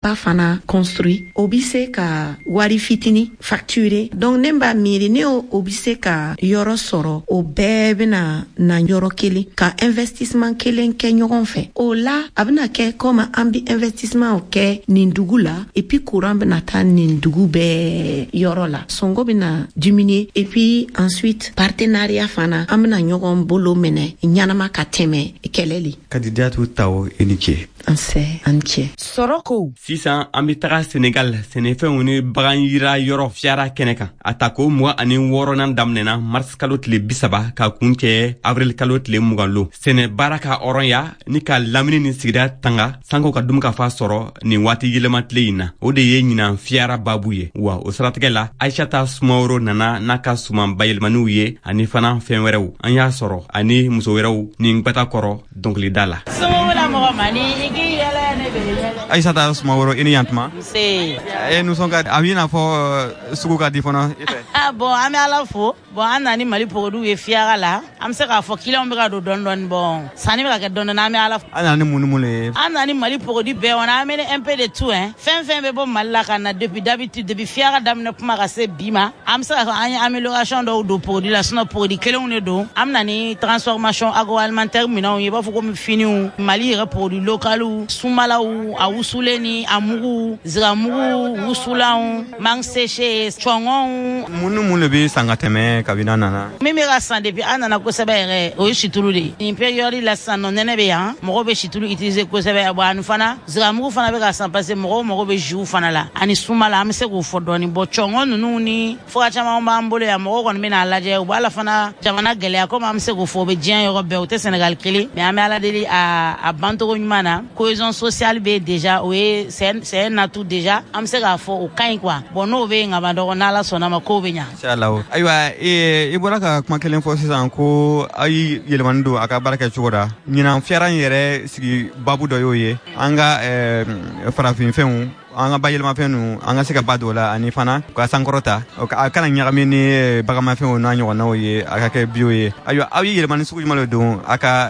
Ba fana construit, o bi se ka wari fitini facturer. Donc ne b'a miiri ne o bi se ka yɔrɔ sɔrɔ, o bɛɛ bɛna na yɔrɔ kelen ka investissement kelen kɛ ɲɔgɔn fɛ. O la a bɛna kɛ comme an bi investissement kɛ nin dugu la, et puis courant bɛna taa nin dugu bɛɛ yɔrɔ la, sɔngɔ bɛna diminuer, et puis ensuite partenariat fana, an bɛna ɲɔgɔn bolo minɛ ɲanama ka tɛmɛ kɛlɛ le. Kadidiatu Tawo, i ni ce. Nse, an cɛ. Sɔrɔ ko. Sisan an bɛ taga Senegal sɛnɛfɛnw ni bagan yira yɔrɔ FIARA kɛnɛ kan. A tako 26nan daminɛna mars kalo tile 30 ka kun cɛ avril kalo tile 20 lon. Sɛnɛ baara ka hɔrɔnya ni ka lamini ni sigida tanga sanko ka dunkafa sɔrɔ nin waati yɛlɛma tile in na, o de ye ɲinan FIARA babu ye. Wa o siratigɛ la, Aishata Sumaworo nana n'a ka suman bayɛlɛmaniw ye ani fana fɛn wɛrɛw. An y'a sɔrɔ ani muso wɛrɛw ni gwata kɔrɔ dɔnkilida la. Aïssata Sumaworo, i ni yantuma. Nse. E nisɔn ka a b'i n'a fɔ sugu ka di fana i fɛ. Bon, an bɛ Ala fo. Bon, an nana ni Mali produits ye FIARA la. An bɛ se k'a fɔ clients bɛ ka don dɔɔni dɔɔni. Bon, sanni bɛ ka kɛ dɔɔni dɔɔni, an bɛ Ala fo. An nana ni mun ni mun de ye? An nana ni Mali produits bɛɛ, on a amené un peu de tout hein. Fɛn fɛn bɛ bɔ Mali la ka na depuis d'habitude, depuis FIARA daminɛ kuma ka se bi ma, an bɛ se k'a fɔ an ye amélioration dɔw don produit la, sinon produit kelenw de don. An bɛ na ni transformation agroalimentaire minɛnw ye, i b'a fɔ komi finiw, Mali yɛrɛ produit localiw, sumalaw, a wusulen ni a mugu, ziramugu, wusulanw, mangue séchée, cɔngɔnw. Mun ni mun de bɛ san ka tɛmɛ kabini an nana? Min bɛ ka san depuis an nana kosɛbɛ yɛrɛ, o ye situlu de ye. Nin période la sisan nɔ, nɛnɛ bɛ yan, mɔgɔw bɛ situlu utiliser kosɛbɛ. Bon, ani fana ziramugu fana bɛ ka san parce que mɔgɔw mago bɛ jus fana la ani sumala, an bɛ se k'o fɔ dɔɔni. Bon, cɔngɔn ninnu ni fura caman b'an bolo yan, mɔgɔw kɔni bɛ n'a lajɛ, u b'a la fana jamana gɛlɛya, komi an bɛ se k'o fɔ o bɛ diɲɛ yɔrɔ bɛɛ, o tɛ Sénégal kelen, mais an bɛ Ala deli a bancogo ɲuman na. Cohésion sociale bɛ déjà, o ye c'est un atout déjà, an bɛ se k'a fɔ o ka ɲi quoi. Bon, n'o bɛ yen ka ban dɔrɔn, n'Ala sɔnna ma, kow bɛ ɲa. Inshallah. Ayiwa, i bɔra ka kuma kelen fɔ sisan ko aw ye yɛlɛmani don a ka baara kɛ cogo la. Ɲinan FIARA in yɛrɛ sigi babu dɔ y'o ye, an ka farafinfɛnw, an ka bayɛlɛmafɛn ninnu, an ka se ka ba don o la ani fana ka sankɔrɔta, a kana ɲagami ni bagamafɛnw n'a ɲɔgɔnnaw ye, a ka kɛ bio ye. Ayiwa, aw ye yɛlɛmani sugu jumɛn de don a ka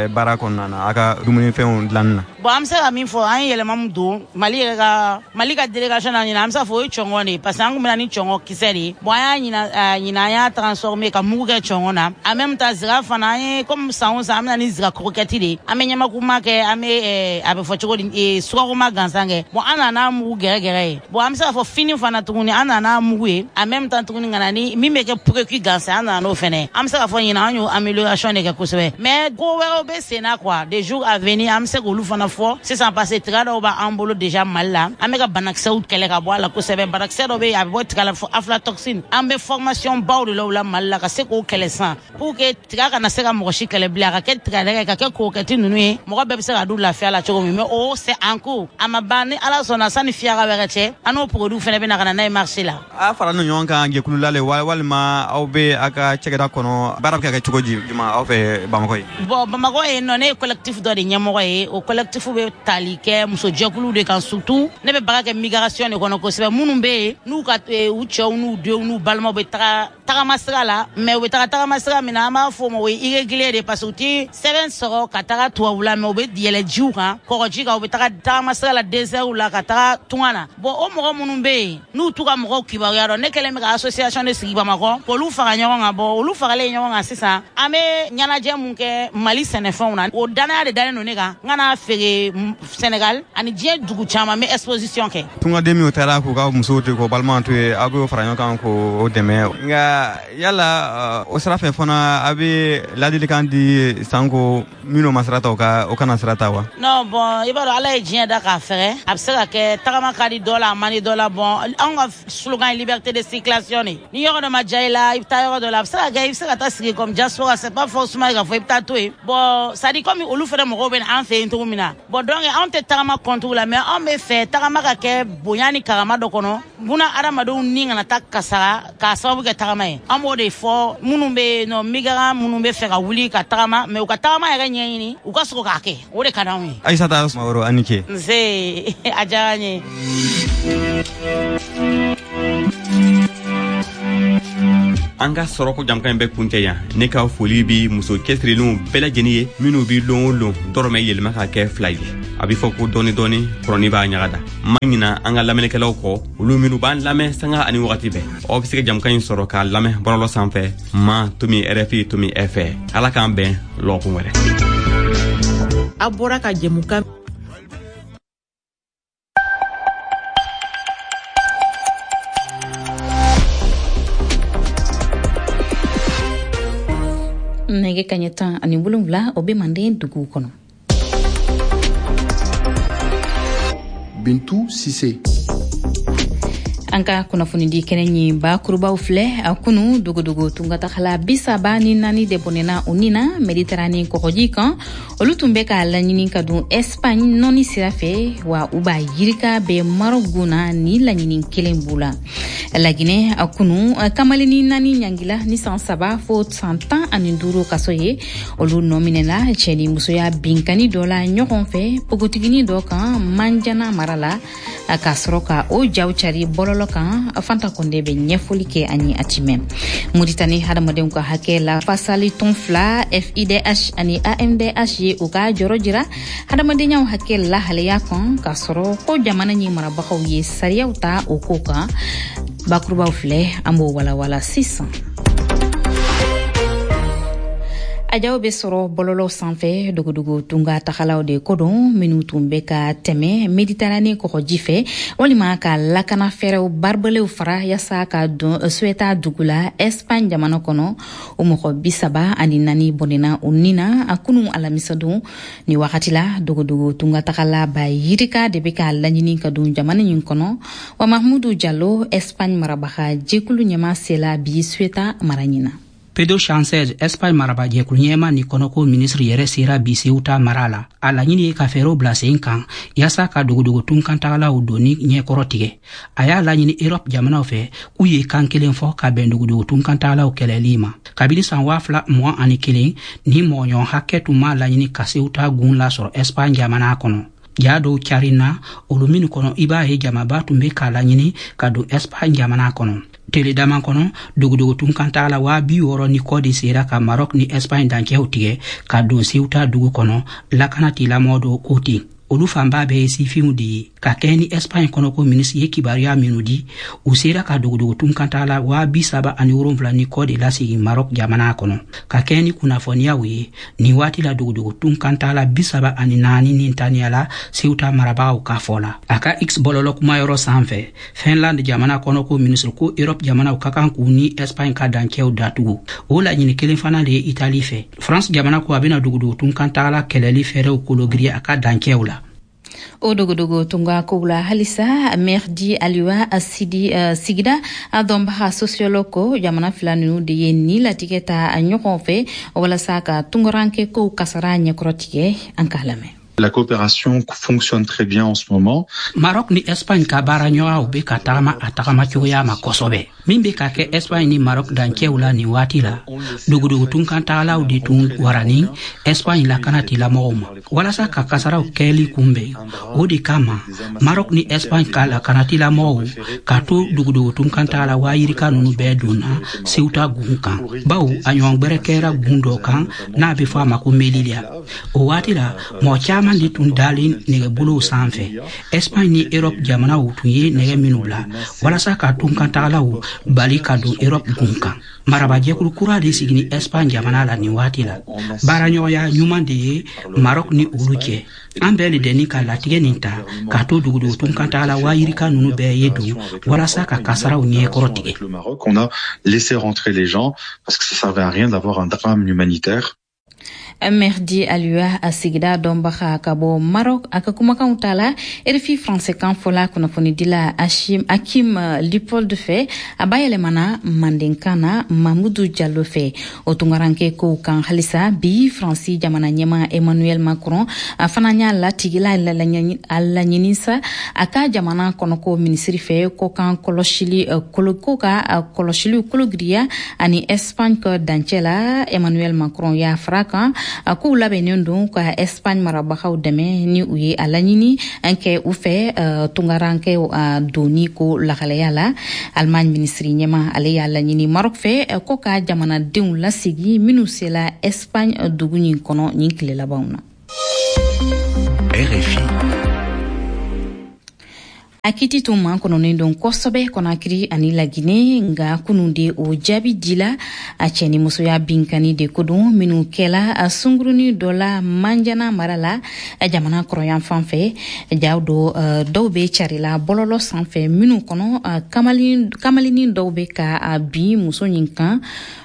baara kɔnɔna na, a ka dumunifɛnw dilanni na? Bon, an bɛ se ka min fɔ, an ye yɛlɛma min don Mali yɛrɛ ka, Mali ka délégation na ɲinan, an bɛ se k'a fɔ o ye cɔngɔn de ye, parce que an kun bɛ na ni cɔngɔn kisɛ de ye. Bon, an y'a ɲinan, an y'a transformer ka mugu kɛ cɔngɔn na. En même temps, zira fana, an ye comme san o san, an bɛ na ni zira croquette de ye, an bɛ ɲamakuma kɛ, an bɛ a bɛ fɔ cogo di, sukaroma gansan kɛ. Bon, an nana mugu gɛrɛgɛrɛ ye. Bon, an bɛ se k'a fɔ fini fana tuguni, an nana mugu ye en même temps tuguni ka na ni min bɛ kɛ précuit gansan, an nana n'o fɛnɛ. An bɛ se k'a fɔ ɲinan an y'o amélioration de kɛ kosɛbɛ, mais ko wɛrɛw bɛ sen na quoi, des jours à venir an bɛ se k'olu fana fɔ sisan, parce que tiga dɔw b'an bolo déjà Mali la, an bɛ ka banakisɛw kɛlɛ ka bɔ a la kosɛbɛ. Banakisɛ dɔ bɛ yen, a bɛ bɔ tiga la fɔ aflatoxine, an bɛ formation baw de la o la Mali la ka se k'o kɛlɛ sisan pour que tiga kana se ka mɔgɔ si kɛlɛ bilen, a ka kɛ tigadɛgɛ, ka kɛ croquette ninnu ye, mɔgɔ bɛɛ bɛ se ka dun lafiya la cogo min. Mais o c'est en cours, a ma ban. Ni Ala sɔnna, sani FIARA wɛrɛ cɛ, an n'o produit fɛnɛ bɛ na ka na n'a ye marché la. A fara n'o ɲɔgɔn kan jɛkulu la le, walima aw bɛ a ka cakɛda kɔnɔ, baara bɛ ka kɛ cogo di juma aw fɛ Bamakɔ ye? Bon, Bamakɔ yen nɔ, ne ye collectif dɔ de ɲɛmɔgɔ ye. O collectif bɛ tali kɛ musojɛkuluw de kan, surtout ne bɛ baara kɛ migration de kɔnɔ kosɛbɛ, minnu bɛ yen n'u ka u cɛw n'u denw n'u balimaw bɛ taga tagama sira la, mais u bɛ taga tagama sira min na, an b'a fɔ o ma o ye irrégulier de, parce que u ti sɛbɛn sɔrɔ ka taga tubabula, mais u bɛ yɛlɛ jiw kan, kɔgɔji kan, u bɛ taga tagama sira la, désert la, ka taga tunga na. Bon, o mɔgɔ minnu bɛ yen n'u t'u ka mɔgɔw kibaruya dɔn, ne kɛlen bɛ ka association de sigi Bamakɔ k'olu fara ɲɔgɔn kan. Bon, olu faralen ɲɔgɔn kan sisan, an bɛ ɲɛnajɛ mun kɛ Mali sɛnɛfɛnw na, o danaya de dalen don ne kan, n ka n'a feere Sénégal ani diɲɛ dugu caman, n bɛ exposition kɛ. Tungaden minnu taara k'u ka musow to yen, k'u balimaw to yen, aw b'o fara ɲɔgɔn kan k'o dɛmɛ. Nka yala o sira fɛ fana, a bɛ ladilikan di sanko minnu ma sira ta, o kana sira ta wa? Non, bon, i b'a dɔn Ala ye diɲɛ da k'a fɛgɛ, a bɛ se ka kɛ tagama ka di dɔ la, a man di dɔ la. Bon, anw ka slogan ye liberté de circulation de. Ni yɔrɔ dɔ ma diya i la, i bɛ taa yɔrɔ dɔ la, a bɛ se ka kɛ i bɛ se ka taa sigi comme diaspora, c'est pas forcément k'a fɔ i bɛ taa to yen. Bon, c'est à dire comme olu fɛnɛ mɔgɔw bɛ na an fɛ yen cogo min na. Bon, donc anw tɛ tagama contre la, mais anw bɛ fɛ tagama ka kɛ bonya ni karama dɔ kɔnɔ, buna adamadenw ni kana taa kasara k'a sababu kɛ tagama ye. An b'o de fɔ minnu bɛ yen nɔ, migrant minnu bɛ fɛ ka wuli ka tagama, mais u ka tagama yɛrɛ ɲɛɲini, u ka sɔrɔ k'a kɛ, o de ka d'anw ye. Aïssata Sumaworo, a ni ce. Nse, a diyara n ye. An ka sɔrɔko jamukan in bɛ kuncɛ yan. Ne ka foli bi muso cɛsirilenw bɛɛ lajɛlen ye, minnu bi lon o lon dɔrɔmɛ yɛlɛma ka kɛ 2 ye. A bɛ fɔ ko dɔɔni dɔɔni kɔrɔni b'a ɲaga da. Ma ɲina an ka lamɛnnikɛlaw kɔ, olu minnu b'an lamɛn sanga ani wagati bɛɛ. Aw bɛ se ka jamukan in sɔrɔ k'a lamɛn bɔlɔlɔ sanfɛ ma.rfi.fr. Ala k'an bɛn lɔgɔkun wɛrɛ. A bɔra ka jɛmukan Nɛgɛ kaɲɛ 17, o bɛ Manden duguw kɔnɔ. Bintu Sise. An ka kunnafonidi kɛnɛ ɲi bakurubaw filɛ. A kunu, dogodogo tungatagala 34 de bɔnɛna u ni na Mediterane kɔgɔji kan. Olu tun bɛ k'a laɲini ka don Espagne nɔni sira fɛ, wa u b'a yirika bɛ Maroc gun na. Ni laɲini kelen b'u la. Laginɛ, a kunu, kamaleni naani ɲangila ni san 3 fo san 15 kaso ye. Olu nɔ minɛla cɛ ni musoya binkani dɔ la ɲɔgɔn fɛ npogotigini dɔ kan Manjana mara la, k'a sɔrɔ ka o jaw cari bɔlɔlɔ kan. Fanta Kɔnde bɛ ɲɛfɔli kɛ an ye a timɛ. Muritani hadamadenw ka hakɛ la fasali tɔn fila, FIDH ani AMDH, ye u ka jɔrɔ jira hadamadenyaw hakɛ lahalaya kan, k'a sɔrɔ ko jamana ɲi marabagaw ye sariyaw ta o ko kan. Bakurubaw filɛ, an b'o walawala sisan. A jaw bɛ sɔrɔ bɔlɔlɔ sanfɛ. Dogodogo tunga tagalaw de ko don, minnu tun bɛ ka tɛmɛ Mediterane kɔgɔji fɛ walima ka lakana fɛɛrɛw baribalew fara yaasa ka don Ceuta dugu la Espagne jamana kɔnɔ, o mɔgɔ 34 bɔnɛna u ni na a kunu alamisadon. Ni wagati la, dogodogo tunga tagala ba yirika de bɛ k'a laɲini ka don jamana in kɔnɔ. Wa Mahmudu Jalo, Espagne marabaga jɛkulu ɲɛma, sela bi Ceuta mara ɲina. Pedro Sanchez, Espagne marabajɛkulu ɲɛma ni kɔnɔko minisiri yɛrɛ, sera bi Ceuta mara la. A laɲini ye ka fɛɛrɛw bila sen kan yaasa ka dogodogo tunkantagalaw donni ɲɛkɔrɔ tigɛ. A y'a laɲini Europe jamanaw fɛ k'u ye kan kelen fɔ ka bɛn dogodogo tunkantagalaw kɛlɛli ma. Kabini san 2021, ni mɔgɔɲɔgɔn hakɛ tun m'a laɲini ka Ceuta gun lasɔrɔ Espagne jamana kɔnɔ. Ja dɔw carina olu minnu kɔnɔ, i b'a ye jamaba tun be k'a laɲini ka don Espagne jamana kɔnɔ. Tele dama kɔnɔ, dogodogo tunkantagala 60 000 ni kɔ de sera ka Maroc ni Espagne dancɛw tigɛ ka don Ceuta dugu kɔnɔ, lakana tigilamɔgɔ dɔw ko ten. Olu fanba bɛɛ ye sifinw de ye. Ka kɛɲɛ ni Espagne kɔnɔko minisiri ye kibaruya minnu di, u sera ka dogodogo tunkantagala 37 000 ni kɔ de lasegin Maroc jamana kɔnɔ. Ka kɛɲɛ ni kunnafoniyaw ye, nin waati la, dogodogo tunkantagala 34 ni taniyala Ceuta marabagaw ka fɔ la. A ka X bɔlɔlɔ kumayɔrɔ sanfɛ, Finland jamana kɔnɔko minisiri ko Europe jamanaw ka kan k'u ni Espagne ka dancɛw datugu. O laɲini kelen fana de ye Itali fɛ. France jamana ko a bɛna dogodogo tunkantagala kɛlɛli fɛɛrɛw kologiriya a ka dancɛw la. O dogodogo tunga kow la halisa, Merdi Aliwa Sidi, sigida a dɔnbaga sociologue, ko jamana fila nunu de ye ni latigɛ ta ɲɔgɔn fɛ walasa ka tungaranke kow kasara ɲɛkɔrɔ tigɛ. An k'a lamɛn. La coopération fonctionne très bien en ce moment. Maroc ni Espagne ka baara ɲɔgɔnyaw bɛ ka tagama a tagama cogoya ma kosɛbɛ. Min bɛ ka kɛ Espagne ni Maroc dancɛw la nin waati la, dogodogo tunkantagalaw de tun warani Espagne lakana tigilamɔgɔw ma walasa ka kasaraw kɛli kunbɛn. O de kama Maroc ni Espagne ka lakana tigilamɔgɔw ka to dogodogo tunkantagala waa yirika ninnu bɛɛ donna Ceuta gun kan, bawo a ɲɔgɔn gwɛrɛ kɛra gun dɔ kan n'a bɛ fɔ a ma ko Melilla. O waati la, mɔgɔ caman de tun dalen nɛgɛbolow sanfɛ, Espagne ni Europe jamanaw tun ye nɛgɛ minnu bila walasa ka tunkantagalaw bali ka don Europe gun kan. Marabajɛkulu kura de sigini Espagne jamana la nin waati la. Baaraɲɔgɔnya ɲuman de ye Maroc ni olu cɛ. An bɛɛ le dɛni ka latigɛ nin ta k'a to dogodogo tunkantagala waa yirika ninnu bɛɛ ye don walasa ka kasaraw ɲɛkɔrɔ tigɛ. Le Maroc, on a laissé rentrer les gens parce que ça servait à rien d'avoir un drame humanitaire. Merdi Aliwa, a sigida dɔnbaga ka bɔ Maroc, a ka kumakanw ta la RFI français kan fɔla kunnafonidila Ashim Akim Leopold fɛ, a bayɛlɛmana mandenkan na Mamudu Jalo fɛ. O tungaranke kow kan halisa, bi Faransi jamana ɲɛma Emmanuel Macron a fana y'a latigila a laɲini sa a ka jamana kɔnɔko minisiri fɛ ko kan kɔlɔsili ko ka kɔlɔsiliw kologiriya ani Espagne ka dancɛ la. Emmanuel Macron y'a fara kan a k'u labɛnnen don ka Espagne marabagaw dɛmɛ ni u ye a laɲini kɛ u fɛ tungarankɛw donni ko lahalaya la. Allemagne minisiri ɲɛma, ale y'a laɲini Maroc fɛ ko ka jamanadenw lasegi minnu sela Espagne dugu ɲin kɔnɔ nin tile labanw na. RFI. A kiti tun makɔnɔnen don kosɛbɛ Kɔnakiri ani Lagine, nga kunun de o jaabi dila. A cɛ ni musoya binkani de ko don minnu kɛla a sunguruni dɔ la Manjana mara la, jamana kɔrɔyan fan fɛ. Jaw dɔ dɔw bɛ carila bɔlɔlɔ sanfɛ minnu kɔnɔ, kamalinin dɔw bɛ ka bin muso ɲin kan.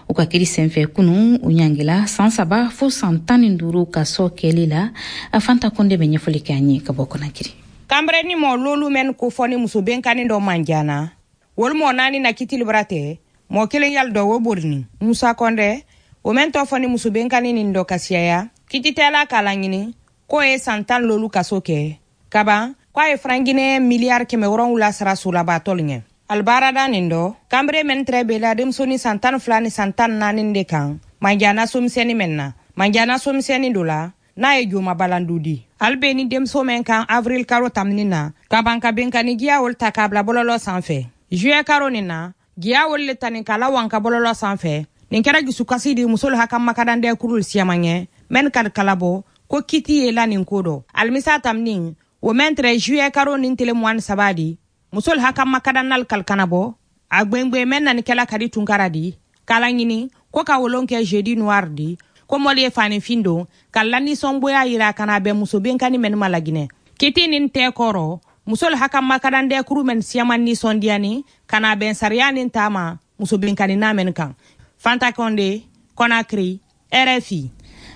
U ka kiri senfɛ kunu, u ɲangila san 3 fo san 15 kaso kɛli la. A Fanta Konde bɛ ɲɛfɔli kɛ an ye ka bɔ Kɔnakiri. Kanbrɛ ni mɔ lolu mɛn ko fɔ ni muso benkani dɔ Manjana, wolu mɔ naani na kitili bara tɛ mɔ kelen yali dɔ wo borini. Musa Kɔndɛ o mɛn tɔ fɔ ni muso benkani nin dɔ kasiyaya kititɛla k'a laɲini k'o ye san 10 lolu kaso kɛ kaban, k'a ye franc guinéen miliyari 700 sara solabatɔlu ɲɛ. Alibaarada nin dɔ kanbere mɛn tɛrɛ bela denmusonin san 12 ni san 14 de kan Manjana somisɛnni mɛn na. Manjana somisɛnni do la n'a ye joma balandu di ali be ni denmuso mɛn kan avril karo tamini na ka ban ka benkani giya wolu ta k'a bila bɔlɔlɔ sanfɛ. Juillet karo nin na, giya wolu le tani k'a lawan ka bɔlɔlɔ sanfɛ. Nin kɛra jusukasi di musolu haka makadandɛ kurul siyaman ɲɛ mɛn kadi kalabɔ ko kiti ye la nin ko dɔ. Alimisa tamini o mɛn tɛrɛ juillet karo nin tele 23 di, musolu haka makadannal kalikanabɔ a gwengwen mɛn nani kɛla kadi tunkara di k'a laɲini ko ka wolon kɛ jeudi noir di, ko mɔli ye fanifin don ka lanisɔngoya yira ka na bɛn muso benkani mɛnu ma Laginɛ. Kiti nin tɛ kɔrɔ musolu haka makadandɛ kuru mɛn siyaman nisɔndiyani ka na bɛn sariya nin taama muso benkani na mɛnu kan. Fanta Konde, Conakry, RFI.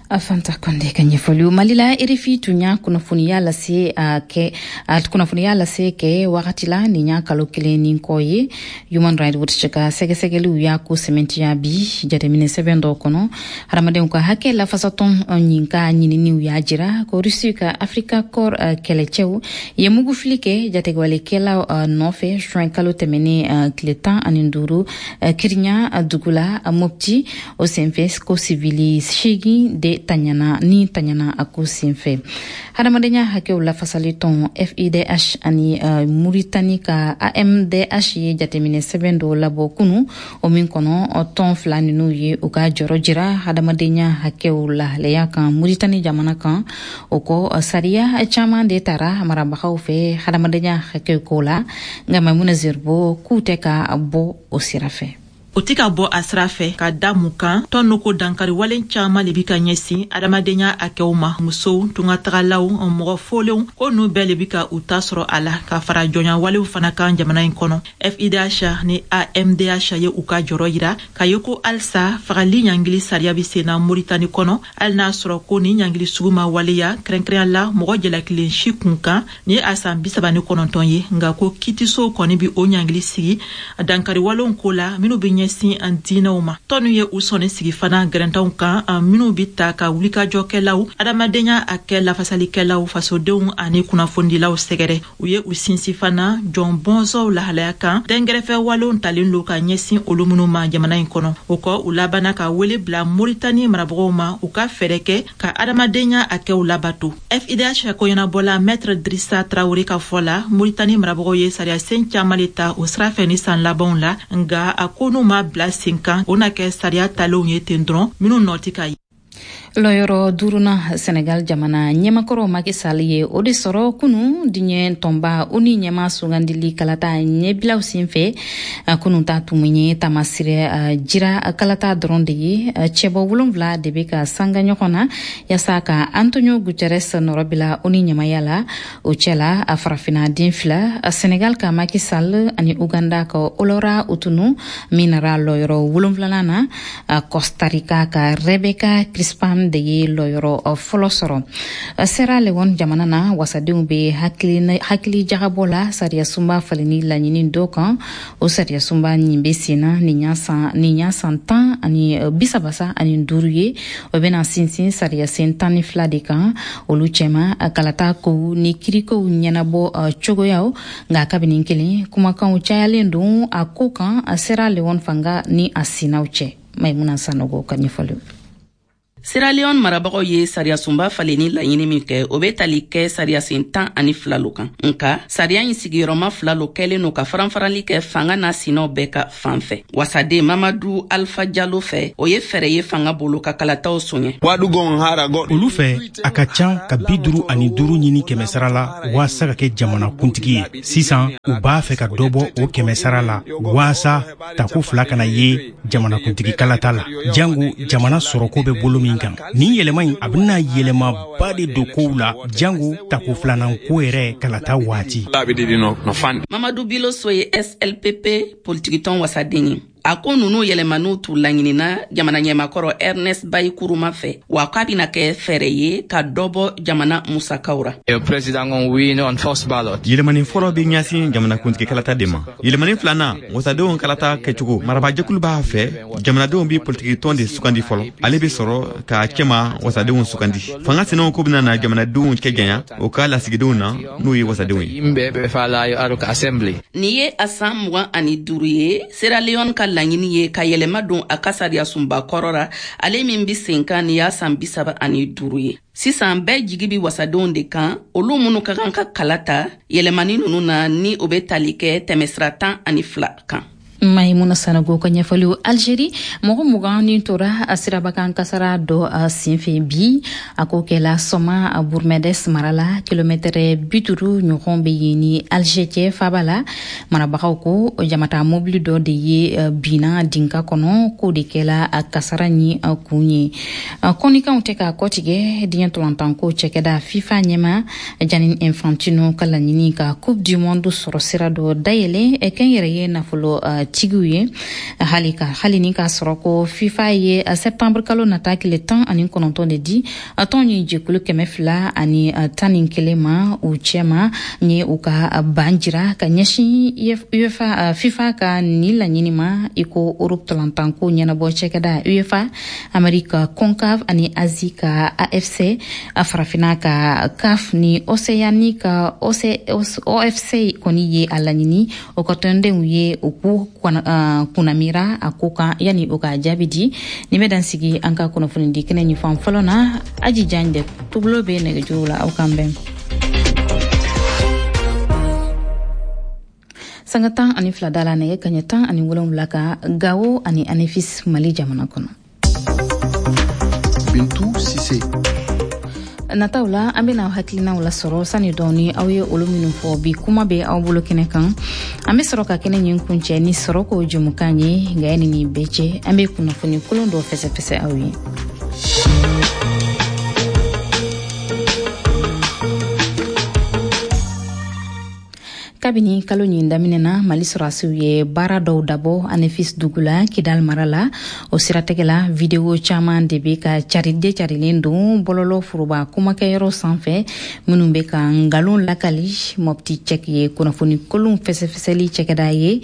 Fanta Konde ka ɲɛfɔliw. Mali la, RFI tun y'a kunnafoniya lase a kɛ a kunnafoniya lase kɛ wagati la nin y'a kalo kelen ni kɔ ye. Human Rights Watch ka sɛgɛsɛgɛliw y'a ko sɛmɛntiya bi jateminɛ sɛbɛn dɔ kɔnɔ. Hadamadenw ka hakɛ lafasatɔn ɲin ka ɲininiw y'a jira ko Rusi ka Africa Corps kɛlɛcɛw ye mugufili kɛ jatigɛwalekɛlaw nɔfɛ juin kalo tɛmɛnen tile 15 Kirinya dugu la Mopti. O senfɛ ko sivili 8 de taɲana ni taɲana a ko senfɛ. Hadamadenya hakɛw lafasali tɔn FIDH ani Muritani ka AMDH ye jateminɛ sɛbɛn dɔ labɔ kunu, o min kɔnɔ tɔn fila ninnu ye u ka jɔrɔ jira hadamadenya hakɛw lahalaya kan Muritani jamana kan. O kɔ, sariya caman de tara marabagaw fɛ hadamadenya hakɛw ko la, nka Maimuna Zerbo k'u tɛ ka bɔ o sira fɛ. O tɛ ka bɔ a sira fɛ ka da mun kan? Tɔn nu ko dankari walen caman le bi ka ɲɛsin adamadenya hakɛw ma, musow, tungatagalaw, mɔgɔ folenw, ko nu bɛɛ le bi ka u ta sɔrɔ a la, ka fara jɔnya walew fana kan jamana in kɔnɔ. FIDH ni AMDH ye u ka jɔrɔ yira ka ye ko halisa fagali ɲangili sariya bi senna Moritani kɔnɔ, hali n'a sɔrɔ ko ni ɲangili sugu ma waleya kɛrɛnkɛrɛnya la mɔgɔ jalakilen si kun kan ni ye a san 39 ye, nka ko kitisow kɔni bi o ɲangili sigi dankari walenw ko la minnu bi ɲɛsin an diinɛw ma. Tɔnu ye u sɔnni sigi fana gɛrɛntɛnw kan minnu bi ta ka wulikajɔkɛlaw, adamadenya hakɛ lafasalikɛlaw, fasodenw ani kunnafonidilaw sɛgɛrɛ. U ye u sinsin fana jɔn bɔnsɔnw lahalaya kan dɛnkɛrɛfɛ walenw talen don ka ɲɛsin olu minnu ma jamana in kɔnɔ. O kɔ, u labanna ka wele bila Moritani marabagaw ma u ka fɛɛrɛ kɛ ka adamadenya hakɛw labato. FIDH koɲɛnabɔla Maître Drissa Traoré ka fɔ la, Moritani marabagaw ye sariyasen caman le ta o sira fɛ ni san labanw la, nka a ko n'u ma bila sen kan, o na kɛ sariya talenw ye ten dɔrɔn minnu nɔ tɛ ka ye. Lɔyɔrɔ duurunan, Senegal jamana ɲɛmakɔrɔ Macky Sall ye o de sɔrɔ kunu diɲɛ tɔnba ONU ɲɛma sugandili kalata ɲɛbilaw senfɛ. Kunu ta tun ye tamasirɛ jira kalata dɔrɔn de ye. Cɛbɔ 7 de bɛ ka sanga ɲɔgɔn na yaasa ka Antonio Guterres nɔrɔbila ONU ɲɛmaya la. O cɛla, a farafinna den fila, Senegal ka Macky Sall ani Uganda ka Olora Otunu min nara lɔyɔrɔ wolonfilanan na. Costa Rica ka Rebecca Crispin de ye lɔyɔrɔ fɔlɔ sɔrɔ. Sierra Leone jamana na, wasadenw bɛ hakili jagabɔ la sariya sunba falenni laɲini dɔ kan. O sariya sunba nin bɛ sen na nin y'a san 135 ye. O bɛna sinsin sariya sen 12 de kan, olu cɛma kalata kow ni kirikow ɲɛnabɔ cogoyaw. Nka kabini kelen kumakanw cayalen don a ko kan Sierra Leone fanga ni a sinaw cɛ. Maimuna Sanogo ka ɲɛfɔliw. Sierra Leone marabagaw ye sariyasunba falenni laɲini min kɛ, o bɛ tali kɛ sariyasen 12 lo kan. Nka sariya in sigiyɔrɔma fila lo kɛlen no ka faranfarali kɛ fanga n'a sinaw bɛɛ ka fan fɛ. Wasaden Mamadu Alfa Jalo fɛ, o ye fɛɛrɛ ye fanga bolo ka kalataw soɲɛ. Olu fɛ, a ka can ka 55 ɲini kɛmɛsara la waasa ka kɛ jamanakuntigi ye. Sisan u b'a fɛ ka dɔ bɔ o kɛmɛsara la waasa tako fila kana ye jamanakuntigi kalata la, jango jamana sɔrɔko bɛ bolo min kan. Nin yɛlɛma in, a bɛna yɛlɛmaba de don kow la, jango tako filanan ko yɛrɛ kalata waati. Mamadu Biloso ye SLPP politikitɔn wasaden ye. A ko nunu yɛlɛmaniw t'u laɲinina jamana ɲɛmakɔrɔ Ernest Bai Kuruma fɛ, wa k'a bɛna kɛ fɛɛrɛ ye ka dɔ bɔ jamana musakaw ra. Yɛlɛmani fɔlɔ bɛ ɲɛsin jamanakuntigi kalata de ma. Yɛlɛmani filanan, wasadenw kalata kɛcogo. Marabajɛkulu b'a fɛ jamanadenw bɛ politikitɔn de sugandi fɔlɔ, ale bɛ sɔrɔ ka cɛma wasadenw sugandi. Fanga sinaw ko bɛna na jamanadenw cɛ janya o ka lasigidenw na, n'o ye wasadenw ye. Nin ye a san 25 ye Sierra Leone ka laɲini ye ka yɛlɛma don a ka sariyasunba kɔrɔ ra, ale min bi sen kan nin y'a san 35 ye. Sisan bɛɛ jigi bi wasadenw de kan, olu minnu ka kan ka kala ta yɛlɛmani ninnu na, ni o bɛ tali kɛ tɛmɛsira 12 kan. Maimuna Sanogo ka ɲɛfɔliw. Algérie, mɔgɔ 20 ni tora a sirabakan kasara dɔ a senfɛ bi. A ko kɛla Sɔma Bourmedes mara la, kilomɛtɛrɛ 50 ɲɔgɔn bɛ yen ni Alger cɛ faba la. Marabagaw ko jamata mobili dɔ de ye binna dinka kɔnɔ, k'o de kɛla a kasara ni kun ye. Kɔnikanw tɛ k'a kɔtigɛ. Diɲɛ ntolatanko cɛkɛda FIFA ɲɛma Gianni Infantino ka laɲini ka Coupe du Monde sɔrɔ sira dɔ dayɛlɛ kɛnyɛrɛye nafolo tigiw ye, hali ka hali ni k'a sɔrɔ ko FIFA ye septembre kalo nata tile 19 de di tɔn ye jɛkulu 211 ma u cɛma ye u ka ban jira ka ɲɛsin UEFA FIFA ka nin laɲini ma, i ko Europe ntolatanko ɲɛnabɔ cɛkɛda UEFA, Amerika CONCACAF ani Asie ka AFC, Farafina ka CAF ni Océanie ka OFC kɔni ye a laɲini o ka tɔndenw ye u k'u kunnamira a ko kan yanni o ka jaabi di. Nin bɛ dan sigi an ka kunnafoni di kɛnɛ ɲɛfan fɔlɔ na. Aji Jan de tubulo bɛ nɛgɛjuru la, aw kan bɛn sanga 12 da la nɛgɛ kaɲɛ 17 kan Gawo ani Anefis, Mali jamana kɔnɔ. Bintu Sise. Nataw la, an bena hakilinaw lasɔrɔ sani dɔɔni aw ye olu minnu fɔ bi kuma bɛ aw bolo kɛnɛ kan. An be sɔrɔ ka kɛnɛ ɲin kuncɛ ni sɔrɔ ko jɛmukan ye. Nka yanni nin bɛɛ cɛ, an be kunnafoni kolon dɔ fɛsɛfɛsɛ aw ye. Kabini kalo ɲin daminɛ na, Mali sɔrɔdasiw ye baara dɔw dabɔ Anefis dugu la, Kidal mara la. O siratigɛ la, video caman de bɛ ka caride carilen don bɔlɔlɔ foroba kumakɛyɔrɔ sanfɛ, minnu bɛ ka nkalon lakali. Mopti Cɛk ye kunnafoni kolon fɛsɛfɛsɛli cɛkɛda ye,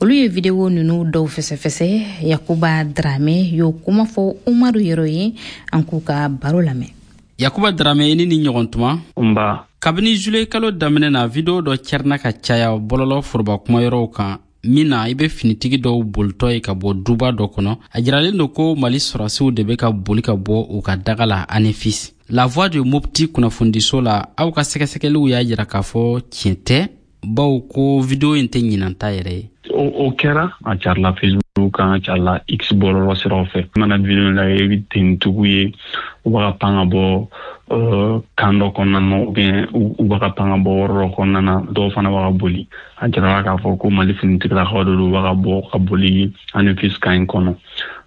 olu ye video ninnu dɔw fɛsɛfɛsɛ. Yakuba Drame y'o kuma fɔ Umaru Yɛrɛ ye, an k'u ka baro lamɛn. Yakuba Drame, i ni ni ɲɔgɔn tuma. Nba. Kabini juillet kalo daminɛ na, video dɔ cɛrina ka caya bɔlɔlɔ foroba kumayɔrɔw kan, min na i bɛ finitigi dɔw bolitɔ ye ka bɔ duba dɔ kɔnɔ. A jiralen don ko Mali sɔrɔdasiw de bɛ ka boli ka bɔ u ka daga la Anefis. La Voix de Mopti kunnafonidiso la, aw ka sɛgɛsɛgɛliw y'a jira k'a fɔ tiɲɛ tɛ, bawo ko video in tɛ ɲinan ta yɛrɛ ye. O kɛra, a carila Facebook kan, a carila X bɔlɔlɔ siraw fɛ. I mana video lajɛ, i bɛ tenitigiw ye, u b'a ka pan ka bɔ kan dɔ kɔnɔna na, ou bien u b'a ka pan ka bɔ yɔrɔ dɔ kɔnɔna na, dɔw fana b'a ka boli. A jirala k'a fɔ ko Mali finitigilakaw de don, u b'a ka bɔ ka boli Anefis kan in kɔnɔ.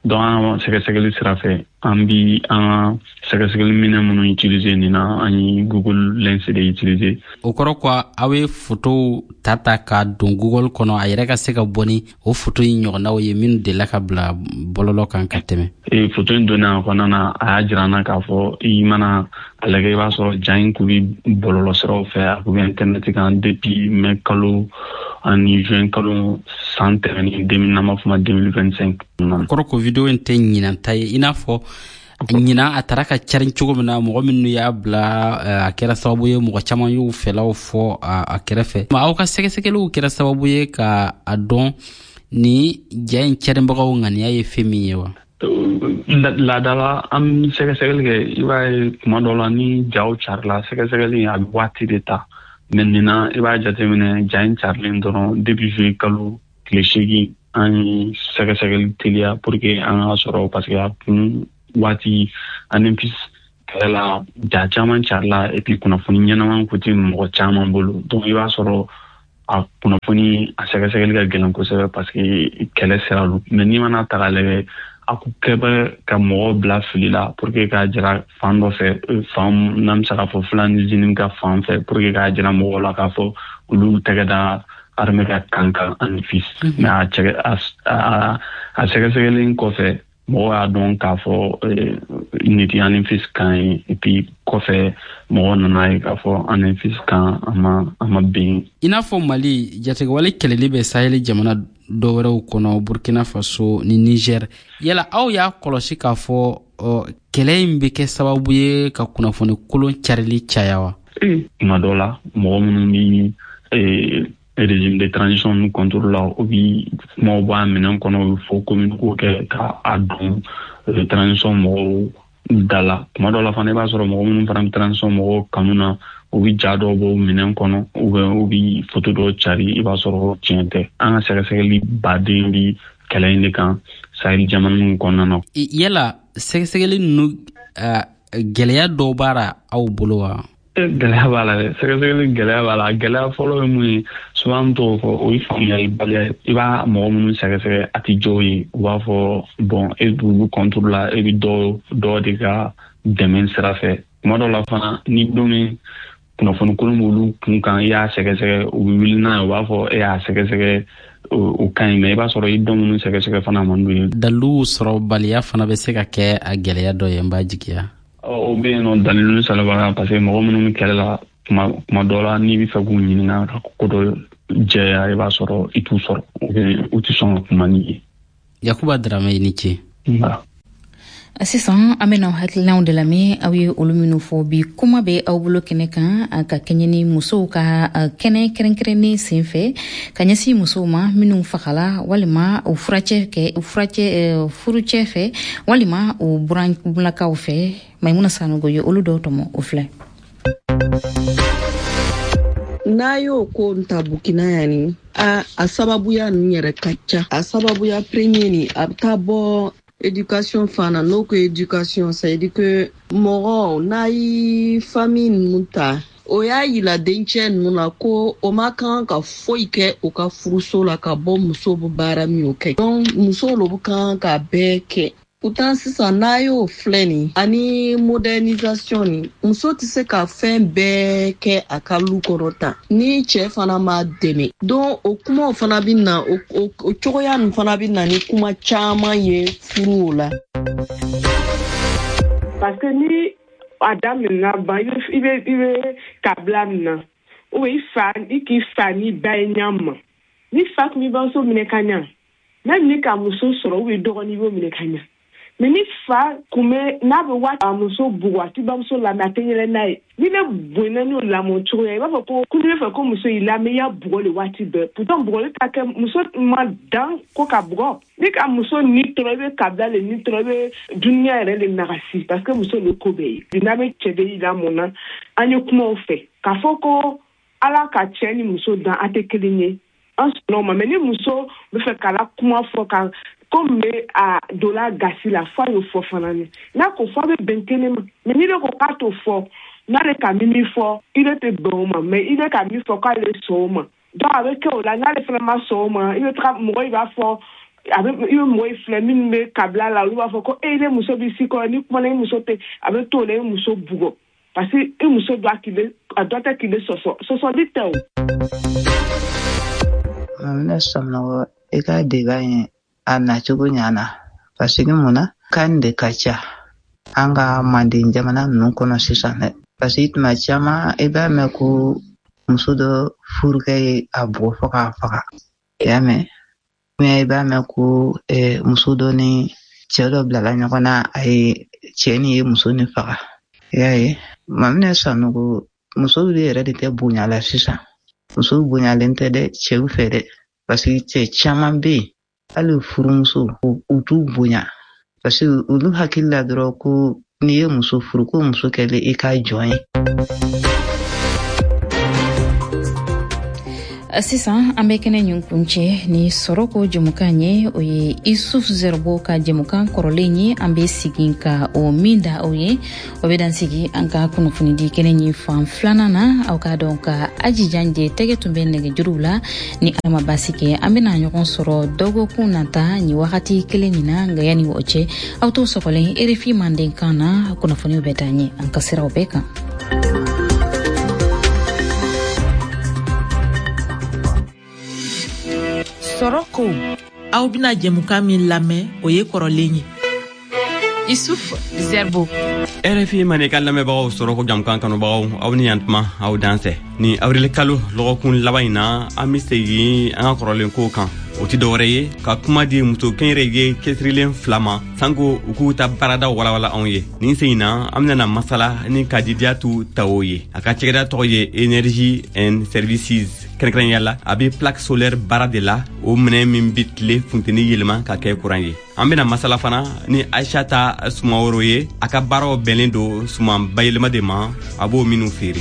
Donc an ka sɛgɛsɛgɛli sira fɛ, an bi an ka sɛgɛsɛgɛli minɛn minnu utiliser nin na, an ye Google Lens de utiliser. O kɔrɔ ko aw ye photow ta k'a don Google kɔnɔ, a yɛrɛ ka se ka bɔ ni o photo in ɲɔgɔnnaw ye minnu delila ka bila bɔlɔlɔ kan ka tɛmɛ. Photo in donnen a kɔnɔna na, a y'a jira an na k'a fɔ i mana a lajɛ, i b'a sɔrɔ ja in kun bi bɔlɔlɔ siraw fɛ, a kun bɛ internet kan depuis mai kalo ani juin kalo san tɛmɛnen, n'an b'a fɔ ma 2025. Kɔrɔ ko video in tɛ ɲinan ta ye, i n'a fɔ ɲinan a taara ka carin cogo min na, mɔgɔ minnu y'a bila, a kɛra sababu ye mɔgɔ caman y'u fɛlaw fɔ a kɛrɛfɛ. Aw ka sɛgɛsɛgɛliw kɛra sababu ye ka a dɔn ni ja in carinbagaw ŋaniya ye fɛn min ye wa? Laada la, an bɛ sɛgɛsɛgɛli kɛ. I b'a ye, kuma dɔ la, ni jaw carila, sɛgɛsɛgɛli a bɛ waati de ta. Mais nin na, i b'a jateminɛ, ja in carilen dɔrɔn, depuis juillet kalo tile 8, an ye sɛgɛsɛgɛli teliya pour que an ka sɔrɔ, parce que a kun waati Anéfis kɛlɛ la, ja caman carila, et puis kunnafoni ɲɛnama kun tɛ mɔgɔ caman bolo. Donc i b'a sɔrɔ a kunnafoni a sɛgɛsɛgɛli ka gɛlɛn kosɛbɛ, parce que kɛlɛ sira don. Mais n'i mana ta k'a lajɛ, a kun kɛ bɛ ka mɔgɔw bila fili la pour que k'a jira fan dɔ fɛ, fan n'an bɛ se k'a fɔ Fulani JNIM ka fan fɛ, pour que k'a jira mɔgɔw la k'a fɔ olu tɛgɛ da armée ka kan kan Anéfis. Mais a sɛgɛsɛgɛli kɔfɛ, mɔgɔw y'a dɔn k'a fɔ nin tɛ Anéfis kan ye. Et puis kɔfɛ, mɔgɔw nana ye k'a fɔ Anéfis kan a ma bin. I n'a fɔ Mali, jatigɛwale kɛlɛli bɛ Saheli jamana dɔ wɛrɛw kɔnɔ, Burkina Faso ni Niger. Yala aw y'a kɔlɔsi k'a fɔ kɛlɛ in bɛ kɛ sababu ye ka kunnafoni kolon carili caya wa? Tuma dɔ la, mɔgɔ minnu bi régime de transition nu contre la, o bi kumaw bɔ a minɛn kɔnɔ, u bɛ fɔ communiqué kɛ ka a don transition mɔgɔw da la. Tuma dɔ la fana, i b'a sɔrɔ mɔgɔ minnu fana bɛ transition mɔgɔw kanu na, u bɛ ja dɔw bɔ minɛn kɔnɔ, ou bien u bɛ photo dɔw cari, i b'a sɔrɔ tiɲɛ tɛ. An ka sɛgɛsɛgɛli baden bi kɛlɛ in de kan Sahel jamana ninnu kɔnɔna na. Yala sɛgɛsɛgɛli ninnu, gɛlɛya dɔw b'a la aw bolo wa? Gɛlɛya b'a la dɛ. Sɛgɛsɛgɛli gɛlɛya b'a la. Gɛlɛya fɔlɔ ye mun ye? Souvent an t'o fɔ, o ye faamuyalibaliya ye. I b'a mɔgɔ minnu sɛgɛsɛgɛ, a tɛ jɔw ye, u b'a fɔ bon, e b'olu contre la, e bɛ dɔ dɔ de ka dɛmɛ sira fɛ. Tuma dɔ la fana, ni don min kunnafoni kolon b'olu kun kan, i y'a sɛgɛsɛgɛ, u bɛ wuli n'a ye, u b'a fɔ e y'a sɛgɛsɛgɛ, o ka ɲi. Mais i b'a sɔrɔ i dɔ minnu sɛgɛsɛgɛ fana man d'u ye. Daliluw sɔrɔbaliya fana bɛ se ka kɛ a gɛlɛya dɔ ye, n b'a jigiya. O bɛ yen nɔ, dalilu sɔrɔbaliya, parce que mɔgɔ minnu bɛ kɛlɛ la, tuma dɔ la, n'i bɛ fɛ k'u ɲininka ka ko dɔ jɛya, i b'a sɔrɔ i t'u sɔrɔ, u tɛ sɔn ka kuma n'i ye. Yakuba Darame, i ni ce. Sisan an bɛna hakilinaw de lamɛn, aw ye olu minnu fɔ bi kuma bɛ aw bolo kɛnɛ kan, ka kɛɲɛ ni musow ka kɛnɛ kɛrɛnkɛrɛnnen sen fɛ ka ɲɛsin musow ma minnu fagala walima u furacɛ kɛ u furacɛ furucɛ fɛ walima u buranlakaw fɛ. Maimuna Sanogo ye olu dɔw tɔmɔ, o filɛ. N'a y'o ko ta Burkina yan ni a sababuya ninnu yɛrɛ ka ca. A sababuya premier ni, a bɛ taa bɔ éducation fana. N'o ko éducation, c'est à dire que mɔgɔ n'a ye famille ninnu ta, o y'a yira dencɛ ninnu na ko o ma kan ka foyi kɛ u ka furuso la ka bɔ muso bɛ baara min o kɛ. Donc muso lo bɛ kan ka bɛɛ kɛ. Pourtant sisan, n'a y'o filɛ nin ani modernisation ni, muso tɛ se ka fɛn bɛɛ kɛ a ka lu kɔnɔ tan ni cɛ fana ma dɛmɛ. Donc o kumaw fana bɛ na, o cogoya nin fana bɛ na ni kuma caman ye furuw la. Parce que ni a daminɛna ban, i bɛ kabila min na, ou i fa, i k'i fa ni ba ye ɲa ma, ni fa tun b'i bamuso minɛ ka ɲa, même ni ka muso sɔrɔ ou dɔgɔnin, i b'o minɛ ka ɲa. Mais ni fa kun bɛ n'a bɛ waati a muso bugɔ, a t'i bamuso lamɛn, a tɛ yɛlɛ n'a ye. Ni ne bonyana n'o lamɔ cogoya ye, i b'a fɔ ko n'i bɛ fɛ ko muso y'i lamɛn, i y'a bugɔ le waati bɛɛ. Pourtant bugɔli ta kɛ muso ma dan ko ka bugɔ. Ni ka muso ni tɔɔrɔ, i bɛ kabila le ni tɔɔrɔ, i bɛ duniya yɛrɛ le nagasi, parce que muso le ko bɛɛ ye. N'a bɛ cɛ bɛ y'i lamɔ na, an ye kumaw fɛ k'a fɔ ko Ala ka cɛ ni muso dan, a tɛ kelen ye, an sɔnna o ma. Mais ni muso bɛ fɛ k'a la kuma fɔ ka ko min bɛ a donna gasi la, f'a y'o fɔ fana ni n'a ko fɔ, a bɛ bɛn kelen ma. Mais n'i de ko k'a t'o fɔ, n'ale ka min fɔ, i de tɛ bɛn o ma. Mais i de ka min fɔ k'ale sɔn o ma, donc a bɛ kɛ o la. N'ale fana ma sɔn o ma, i bɛ taga mɔgɔ, i b'a fɔ a bɛ i bɛ mɔgɔ filɛ minnu bɛ kabila la, olu b'a fɔ ko e ne muso b'i si kɔrɔ, ni kumana i muso tɛ, a bɛ to o la, i muso bugɔ, parce que i muso dɔ k'i bɛ a dɔ tɛ k'i bɛ sɔsɔ, sɔsɔli tɛ o. Ne Sɔmɔgɔ, i ka débat in a nacogo ɲana, parce que mun na kan de ka ca an ka manden jamana ninnu kɔnɔ sisan dɛ, parce que tuma caman i b'a mɛn ko muso dɔ furukɛ ye a bugɔ fo k'a faga, i y'a mɛn, i b'a mɛn ko muso dɔ ni cɛ dɔ bilala ɲɔgɔn na, a ye cɛ ni ye muso ni faga, i y'a ye. Maminɛ Sanogo, musow de yɛrɛ de tɛ bonya la sisan. Musow bonyalen tɛ dɛ cɛw fɛ dɛ, parce que cɛ caman bɛ yen, hali furumuso, u t'u bonya. Parce que olu hakili la dɔrɔn ko n'i ye muso furu, ko muso kɛlen i ka jɔn ye. Sisan an bɛ kɛnɛ ɲin kuncɛ ni sɔrɔko jɛmukan ye. O ye Isuf Zerbo ka jɛmukan kɔrɔlen ye, an bɛ segin ka o min da aw ye. O bɛ dan sigi an ka kunnafonidi kɛnɛ ɲin fan filanan na. Aw k'a dɔn ka Aji Janje tɛgɛ tun bɛ nɛgɛjuruw la. Ni Ala ma baasi kɛ, an bɛna ɲɔgɔn sɔrɔ dɔgɔkun nata nin wagati kelen nin na. Nka yanni o cɛ, aw to sɔgɔlen RFI Mandenkan na, kunnafoniw bɛ taa ɲɛ an ka siraw bɛɛ kan. Sɔrɔ ko, aw bɛna jɛmukan min lamɛn, o ye kɔrɔlen ye. Isuf Zerbo. RFI Mandenkan lamɛnbagaw, sɔrɔko jamukan kanubagaw, aw ni yantuma, aw dansɛ. Ni awirili kalo lɔgɔkun laban in na, an be segin an ka kɔrɔlen kow kan. O ti dɔwɛrɛ ye ka kuma di muso kɛnyɛrɛye cɛsirilen fila ma, sanko u k'u ta baaradaw walawala anw ye. Nin sen in na, an benana masala ni Kadidiyatu Tawo ye. A ka cɛgɛda tɔgɔ ye Energy and Services. Kɛrɛnkɛrɛnya la, a be plaque solaire baara de la, o minɛ min be tile funteni yɛlɛma ka kɛ kuran ye. An bena masala fana ni Aishata Sumaworo ye. A ka baaraw bɛnlen don suman bayɛlɛma de ma, a b'o minw feere.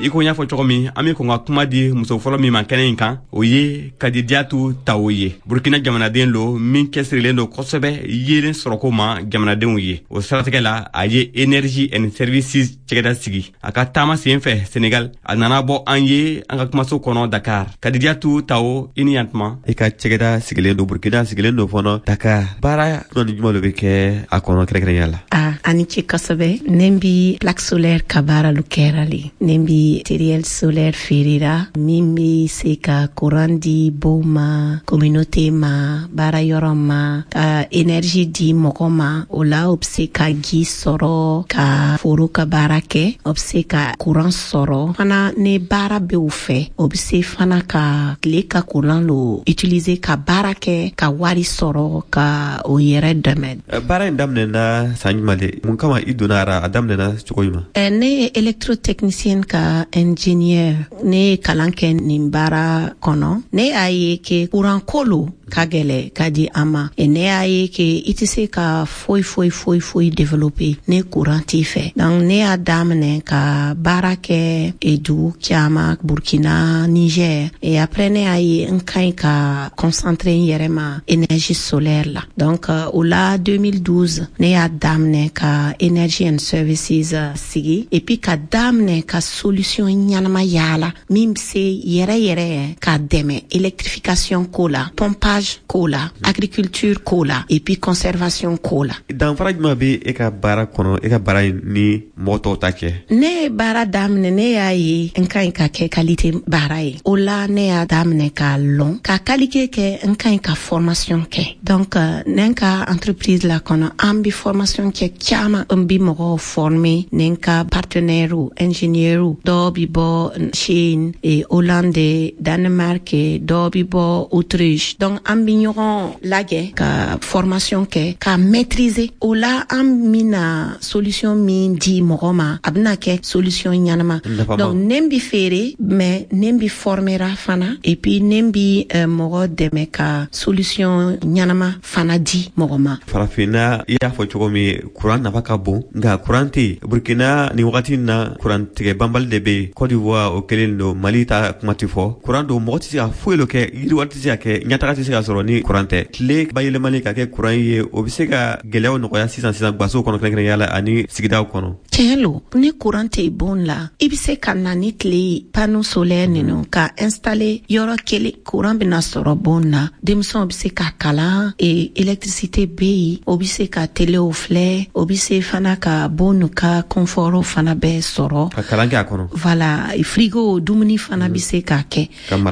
I ko n y'a fɔ cogo min, an be kɔn ka kuma di muso fɔlɔ min ma kɛnɛ in kan, o ye Kadidiyatu Tawo ye. Burkina jamanaden lo min cɛsirilen don kosɛbɛ yeelen sɔrɔko ma jamanadenw ye. O siratigɛ la, a ye Energy and Services cɛgɛda sigi. A ka taama sen fɛ Senegal, a nana bɔ an ye an ka kumaso kɔnɔ Dakar. Kadidiyatu Tawo, i ni yantuma. I ka cɛgɛda sigilen don Burkina, sigilen don fɔnɔ Dakar. Baara jumɛn ni jumɛn lo bɛ kɛ a kɔnɔ kɛrɛnkɛrɛnya la? A ni ce kosɛbɛ. Ne bi plaque solaire ka baara lu kɛra le. Ne bi matériel solaire feerera min be se ka courant di bow ma, communauté ma, baara yɔrɔ ma, ka énergie di mɔgɔ ma. O la, o be se ka ji sɔrɔ ka foro ka baara kɛ, o be se ka courant sɔrɔ fana. Ni baara be o fɛ, o be se fana ka tile ka courant lo utiliser ka baara kɛ, ka wari sɔrɔ ka o yɛrɛ dɛmɛ. Baara in daminɛna san jumɛn de? Mun kama i donna a ra? A daminɛna cogo jumɛn? Ne ye électrotechnicien ka ingénieur. Ne ye kalan kɛ nin baara kɔnɔ. Ne y'a ye ke courant ko lo ka gɛlɛ ka di an ma. E ne y'a ye ke i tɛ se ka foyi foyi foyi foyi développer ni courant t'i fɛ. Donc ne y'a daminɛ ka baara kɛ e dugu caman, Burkina, Niger, et après ne y'a ye n ka ɲi ka concentrer n yɛrɛ ma énergie solaire la. Donc o la, 2012, ne y'a daminɛ ka Energy and Services sigi, et puis ka daminɛ ka solution ɲanama yaala min be se yɛrɛ yɛrɛ ka dɛmɛ électrification ko la, pompage ko la, agriculture ko la, et puis conservation ko la. Danfara jumɛn bɛ e ka baara kɔnɔ, e ka baara ni mɔgɔ tɔw ta cɛ? Ne ye baara daminɛ, ne y'a ye n ka ɲi ka kɛ qualité baara ye. O la, ne y'a daminɛ k'a lɔn ka qualité kɛ, n ka ɲi ka formation kɛ. Donc ne ka entreprise la kɔnɔ, an bi formation kɛ caman, n bi mɔgɔw former. Ne ka partenaire ingénieur dɔw bi bɔ Chine et Hollande, Danemark, dɔw bi bɔ Autriche. Donc an bi ɲɔgɔn lajɛ ka formation kɛ ka maîtriser. O la, an bɛna solution min di mɔgɔ ma, a bɛna kɛ solution ɲanama. Donc ne bi feere, mais ne bi formera fana, et puis ne bi mɔgɔ dɛmɛ ka solution ɲanama fana di mɔgɔ ma. Farafinna, i y'a fɔ cogo min, kuran nafa ka bon, nka kuran tɛ yen. Burkina nin wagati na, kuran tigɛ banbali de bɛ yen. Côte d'Ivoire, o kelen don. Mali ta kuma tɛ fɔ. Kuran don, mɔgɔ tɛ se ka foyi lo kɛ, yiriwa tɛ se ka kɛ, ɲɛtaga tɛ se ka sɔrɔ ni kuran tɛ. Tile bayɛlɛmali ka kɛ kuran ye, o bɛ se ka gɛlɛyaw nɔgɔya sisan sisan gasow kɔnɔ, kɛrɛnkɛrɛnya la ani sigidaw kɔnɔ. Tiɲɛ lo, ni kuran tɛ bon la, i bɛ se ka na ni tile ye, panneau solaire ninnu ka installer yɔrɔ kelen, kuran bɛna sɔrɔ bon na, denmisɛnw bɛ se ka kalan et électricité bɛ yen, o bɛ se ka telew filɛ, o bɛ se fana ka bon ka confort fana bɛɛ sɔrɔ. Ka kalan kɛ a kɔnɔ. Voilà, frigo, dumuni fana bɛ se ka kɛ.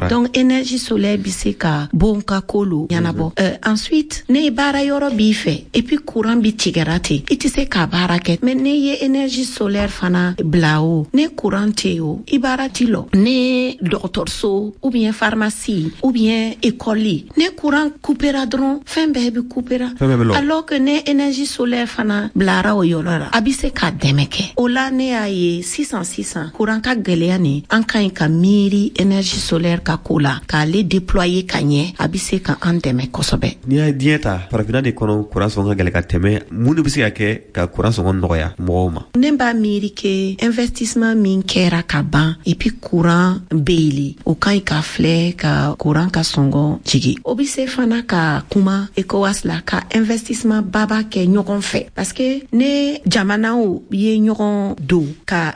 Donc énergie solaire bɛ se ka bon ka ko lo ɲɛnabɔ. Ensuite, ne baara yɔrɔ b'i fɛ et puis courant bi tigɛra ten, i tɛ se ka baara kɛ. Mais ne ye énergie solaire fana bila o, ne courant tɛ o, i baara ti lɔ. Ne dɔgɔtɔrɔso ou bien pharmacie ou bien école, ne courant coupera dɔrɔn, fɛn bɛɛ bɛ coupera. Alors que ne énergie solaire fana bilara o yɔrɔ la, a bɛ se ka dɛmɛ kɛ. O la, ne y'a ye sisan sisan courant Courant ka gwɛlɛya nin, an ka ɲi ka miiri énergie solaire ka ko la, k'ale déployer ka ɲɛ. A be se ka an dɛmɛ kosɛbɛ. N'i y'a diɲɛ ta, Farafinna de kɔnɔ kuran sɔngɔ ka gɛlɛ ka tɛmɛ. Mun de be se ka kɛ ka kuran sɔngɔ nɔgɔya mɔgɔw ma? Ne b'a miiri ke investissement min kɛra ka ban, et puis courant be yen, o ka ɲi ka filɛ ka courant ka sɔngɔ jigi. O be se fana ka kuma ECOWAS la ka investissement baba kɛ ɲɔgɔn fɛ, parce que ne jamanaw ye ɲɔgɔn don ka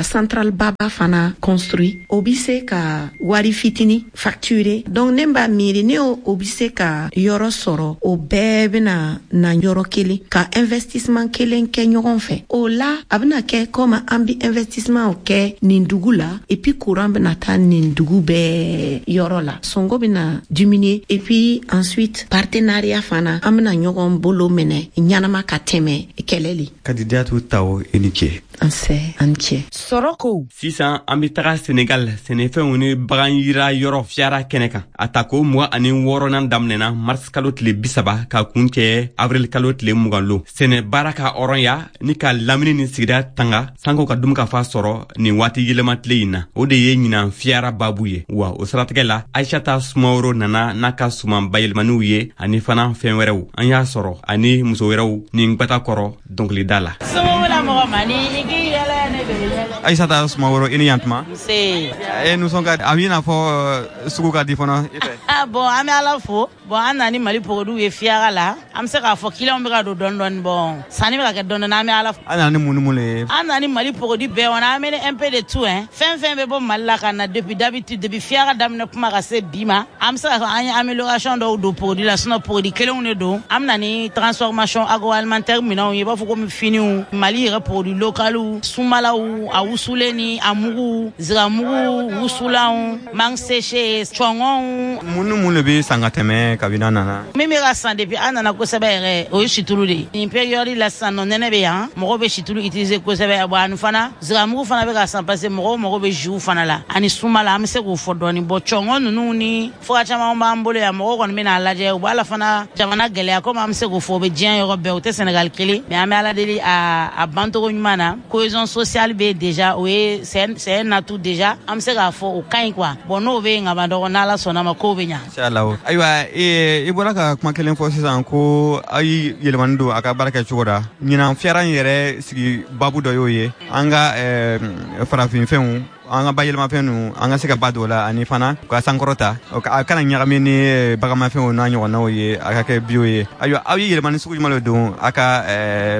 centrale baba fana construit, o be se ka wari fitini facturer. Donc ne b'a miiri ne o be se ka yɔrɔ sɔrɔ, o bɛɛ bena na yɔrɔ kelen ka investissement kelen kɛ ɲɔgɔn fɛ. O la a bena kɛ comme an bi investissement kɛ nin dugu la, et puis courant bena taa nin dugu bɛɛ yɔrɔ la, sɔngɔ bena diminuer. Et puis ensuite partenariat fana, an bena ɲɔgɔn bolo minɛ ɲanama ka tɛmɛ kɛlɛ le. Kadijatu Tawo, i ni ce. Nse, an ce. Sɔrɔ ko. Sisan an be taga Senegal, sɛnɛfɛnw ni bagan yira yɔrɔ Fiyara kɛnɛ kan. A tako 26nan daminɛna mars kalo tile 30 ka kun cɛ avril kalo tile 20 lon. Sɛnɛ baara ka hɔrɔnya ni ka lamini ni sigida tanga sanko ka dumu ka fa sɔrɔ nin waati yɛlɛma tile in na, o de ye ɲinan Fiyara babu ye. Wa o siratigɛ la, Aishata Sumaworo nana n'a ka suman bayɛlɛmaniw ye ani fana fɛn wɛrɛw. An y'a sɔrɔ ani muso wɛrɛw ni gwata kɔrɔ dɔnkilida la. Aïssata Sumaworo, i ni yantuma. Nse. E nisɔn ka a b'i n'a fɔ sugu ka di fana i fɛ. Ah bon, an bɛ Ala fo. Bon, an nana ni Mali produits ye Fiyara la. An bɛ se k'a fɔ clients bɛ ka don dɔɔni dɔɔni. Bon, sanni bɛ ka kɛ dɔɔni dɔɔni, an bɛ Ala fo. An nana ni mun ni mun le ye? An nana ni Mali produits bɛɛ, on a amené un peu de tout hein. Fɛn fɛn bɛ bɔ Mali la ka na depuis d'habitude, depuis Fiyara daminɛ kuma ka se bi ma, an bɛ se k'a fɔ an ye amélioration dɔw don produit la, sinon produit kelenw de don. An bɛ na ni transformation agroalimentaire minɛnw ye, i b'a fɔ komi finiw, Mali yɛrɛ produit localiw, sumalaw, a wusulen ni a mugu, ziramugu, wusulanw, mangue séchée, cɔngɔnw. Mun ni mun de bɛ san ka tɛmɛ kabini an nana? Min bɛ ka san depuis an nana kosɛbɛ yɛrɛ, o ye situlu de ye. Nin période la sisan nɔ, nɛnɛ bɛ yan, mɔgɔw bɛ situlu utiliser kosɛbɛ. Bon, ani fana ziramugu fana bɛ ka san parce que mɔgɔw mago bɛ jus fana la, ani sumala, an bɛ se k'o fɔ dɔɔni. Bon, cɔngɔn ninnu ni fura caman b'an bolo yan, mɔgɔw kɔni bɛ n'a lajɛ, u b'a la fana jamana gɛlɛya, komi an bɛ se k'o fɔ o bɛ diɲɛ yɔrɔ bɛɛ, o tɛ Sénégal kelen, mais an bɛ Ala deli a bancogo ɲuman na. Cohésion sociale bɛ déjà, o ye c'est un atout déjà, an bɛ se k'a fɔ o ka ɲi quoi. Bon, n'o bɛ yen ka ban dɔrɔn, n'Ala sɔnna ma, kow bɛ ɲa. Inshallah. Ayiwa, i bɔra ka kuma kelen fɔ sisan ko aw ye yɛlɛmani don a ka baara kɛ cogo la. Ɲinan Fiyara in yɛrɛ sigi babu dɔ y'o ye, an ka farafinfɛnw, an ka bayɛlɛmafɛn ninnu, an ka se ka ba don o la, ani fana ka sankɔrɔta, a kana ɲagami ni baganmafɛnw n'a ɲɔgɔnnaw ye, a ka kɛ bio ye. Ayiwa, aw ye yɛlɛmani sugu jumɛn de don a ka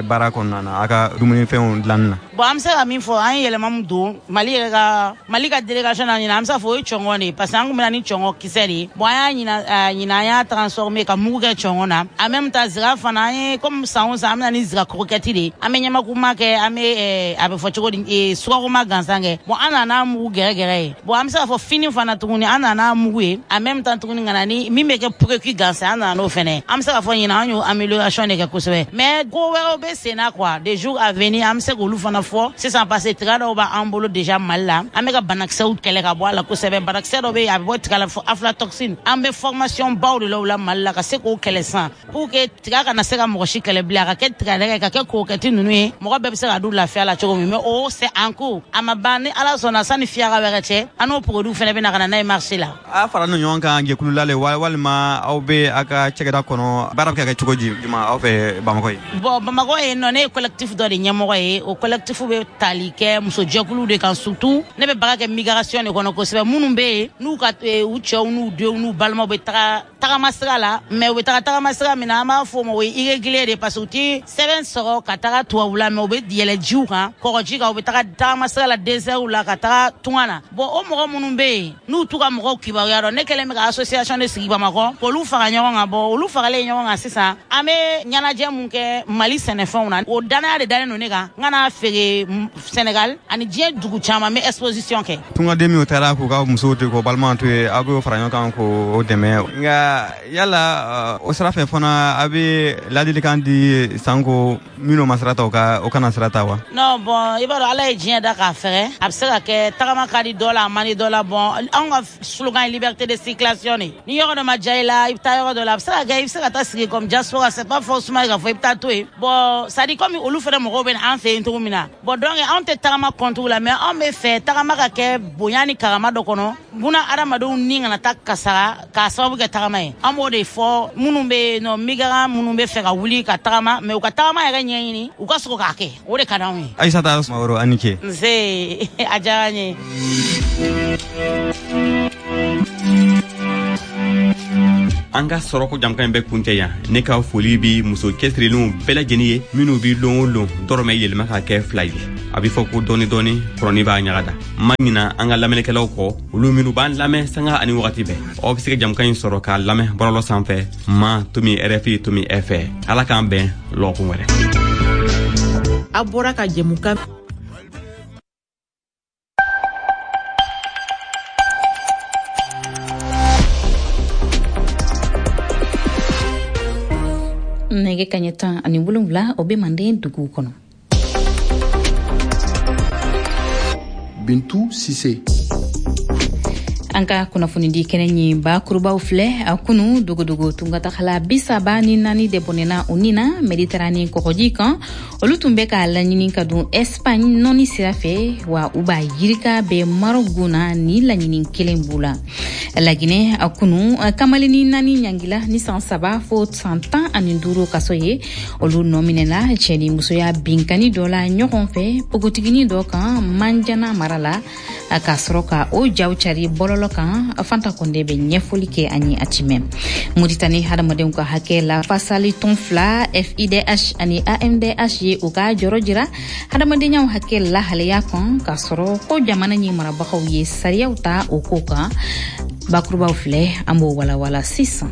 baara kɔnɔna na, a ka dumunifɛnw dilanni na? Bon, an bɛ se ka min fɔ, an ye yɛlɛma min don Mali yɛrɛ ka Mali ka délégation na ɲinan, an bɛ se k'a fɔ o ye cɔngɔn de ye, parce que an kun bɛ na ni cɔngɔn kisɛ de ye. Bon, an y'a ɲinan, an y'a transformer ka mugu kɛ cɔngɔn na. En même temps zira fana, an ye comme san o san, an bɛ na ni zira croquette de ye, an bɛ ɲamakuma kɛ, an bɛ a bɛ fɔ cogo di, sukaroma gansan kɛ. Bon, an nana mugu gɛrɛgɛrɛ ye. Bon, an bɛ se k'a fɔ fini fana tuguni, an nana mugu ye, en même temps tuguni ka na ni min bɛ kɛ précuit gansan, an nana n'o fɛnɛ. An bɛ se k'a fɔ ɲinan an y'o amélioration de kɛ kosɛbɛ, mais ko wɛrɛw bɛ sen na quoi, des jours à venir an bɛ se k'olu fana fɔ sisan, parce que tiga dɔw b'an bolo déjà Mali la, an bɛ ka banakisɛw kɛlɛ ka bɔ a la kosɛbɛ. Banakisɛ dɔ bɛ yen, a bɛ bɔ tiga la fɔ aflatoxine, an bɛ formation baw de la o la Mali la ka se k'o kɛlɛ sisan, pour que tiga kana se ka mɔgɔ si kɛlɛ bilen, a ka kɛ tigadɛgɛ, ka kɛ croquette ninnu ye, mɔgɔ bɛɛ bɛ se ka dun lafiya la cogo min. Mais o c'est en cours, a ma ban. Ni Ala sɔnna, sani Fiyara wɛrɛ cɛ, an n'o produit fɛnɛ bɛ na ka na n'a ye marché la. A fara ɲɔgɔn kan jɛkulu la le, walima aw bɛ aw ka cakɛda kɔnɔ, baara bɛ ka kɛ cogo di juma aw fɛ Bamakɔ ye? Bon, Bamakɔ yen nɔ, ne ye collectif dɔ de ɲɛmɔgɔ ye. O collectif bɛ tali kɛ musojɛkuluw de kan, surtout ne bɛ baara kɛ migration de kɔnɔ kosɛbɛ, minnu bɛ yen n'u ka u cɛw n'u denw n'u balimaw bɛ taga tagama sira la, mais u bɛ taga tagama sira min na, an b'a fɔ o ma o ye irrégulier de, parce que u ti sɛbɛn sɔrɔ ka taga tubabula, mais u bɛ yɛlɛ jiw kan, kɔgɔji kan, u bɛ taga tagama sira la, désert la, ka taga tunga na. Bon, o mɔgɔ minnu bɛ yen n'u t'u ka mɔgɔw kibaruya dɔn, ne kɛlen bɛ ka association de sigi Bamakɔ k'olu fara ɲɔgɔn kan. Bon, olu faralen ɲɔgɔn kan sisan, an bɛ ɲɛnajɛ mun kɛ Mali sɛnɛfɛnw na, o danaya de dalen don ne kan, n ka n'a feere Sénégal ani diɲɛ dugu caman, n bɛ exposition kɛ. Tungaden minnu taara k'u ka musow to yen, k'u balimaw to yen, aw b'o fara ɲɔgɔn kan k'o dɛmɛ. Nka yala o sira fɛ fana, a bɛ ladilikan di sanko minnu ma sira ta, o kana sira ta wa? Non, bon, i b'a dɔn Ala ye diɲɛ da k'a fɛgɛ, a bɛ se ka kɛ. Kɛ tagama ka di dɔ la, a man di dɔ la. Bon, anw ka slogan ye liberté de circulation de. Ni yɔrɔ dɔ ma diya i la, i bɛ taa yɔrɔ dɔ la. A bɛ se ka kɛ i bɛ se ka taa sigi comme diaspora, c'est pas forcément k'a fɔ i bɛ taa to yen. Bon, c'est à dire comme olu fana mɔgɔw bɛ na an fɛ yen cogo min na. Bon, donc anw tɛ tagama contre la, mais anw bɛ fɛ tagama ka kɛ bonya ni karama dɔ kɔnɔ, buna adamadenw ni kana taa kasara k'a sababu kɛ tagama ye. An b'o de fɔ minnu bɛ yen nɔ, migrant minnu bɛ fɛ ka wuli ka tagama, mais u ka tagama yɛrɛ ɲɛɲini, u ka sɔrɔ k'a kɛ, o de ka d'anw ye. Aïssata Sumaworo, a ni ce. Nse, a diyara n ye. An ka sɔrɔko jamukan in bɛ kuncɛ yan. Ne ka foli bi muso cɛsirilenw bɛɛ lajɛlen ye, minnu bi lon o lon dɔrɔmɛ yɛlɛma ka kɛ 2 ye. A bɛ fɔ ko dɔɔni dɔɔni kɔrɔni b'a ɲaga da. N ma ɲina an ka lamɛnnikɛlaw kɔ, olu minnu b'an lamɛn sanga ani wagati bɛɛ. Aw bɛ se ka jamukan in sɔrɔ k'a lamɛn bɔlɔlɔ sanfɛ ma tomi rfi tomi fr. Ala k'an bɛn lɔgɔkun wɛrɛ. A bɔra ka jɛmukan nɛgɛ kaɲɛ 17, o bɛ manden duguw kɔnɔ. Bintu Sise. An ka kunnafonidi kɛnɛ ɲi bakurubaw filɛ. A kunu dogodogo tungatagala 34 de bɔnɛna u ni na Mediterane kɔgɔji kan. Olu tun bɛ k'a laɲini ka don Espagne nɔni sira fɛ, wa u b'a yirika bɛ Maroc gun na ni laɲini kelen b'u la. Laginɛ, a kunu kamalenni 4 ɲangila ni san 3 fo san 15 kaso ye. Olu nɔ minɛna cɛ ni musoya binkani dɔ la ɲɔgɔn fɛ npogotiginin dɔ kan Manjana mara la, ka sɔrɔ ka o jaw cari bɔlɔlɔ kan. Fanta Konde bɛ ɲɛfɔli kɛ an ye a timɛ. Moritani hadamadenw ka hakɛ la fasali tɔn 2 FIDH ani AMDH ye u ka jɔrɔ jira hadamadenyaw hakɛ lahalaya kan, k'a sɔrɔ ko jamana ɲi marabagaw ye sariyaw ta o ko kan. Bakurubaw filɛ, an b'o walawala sisan.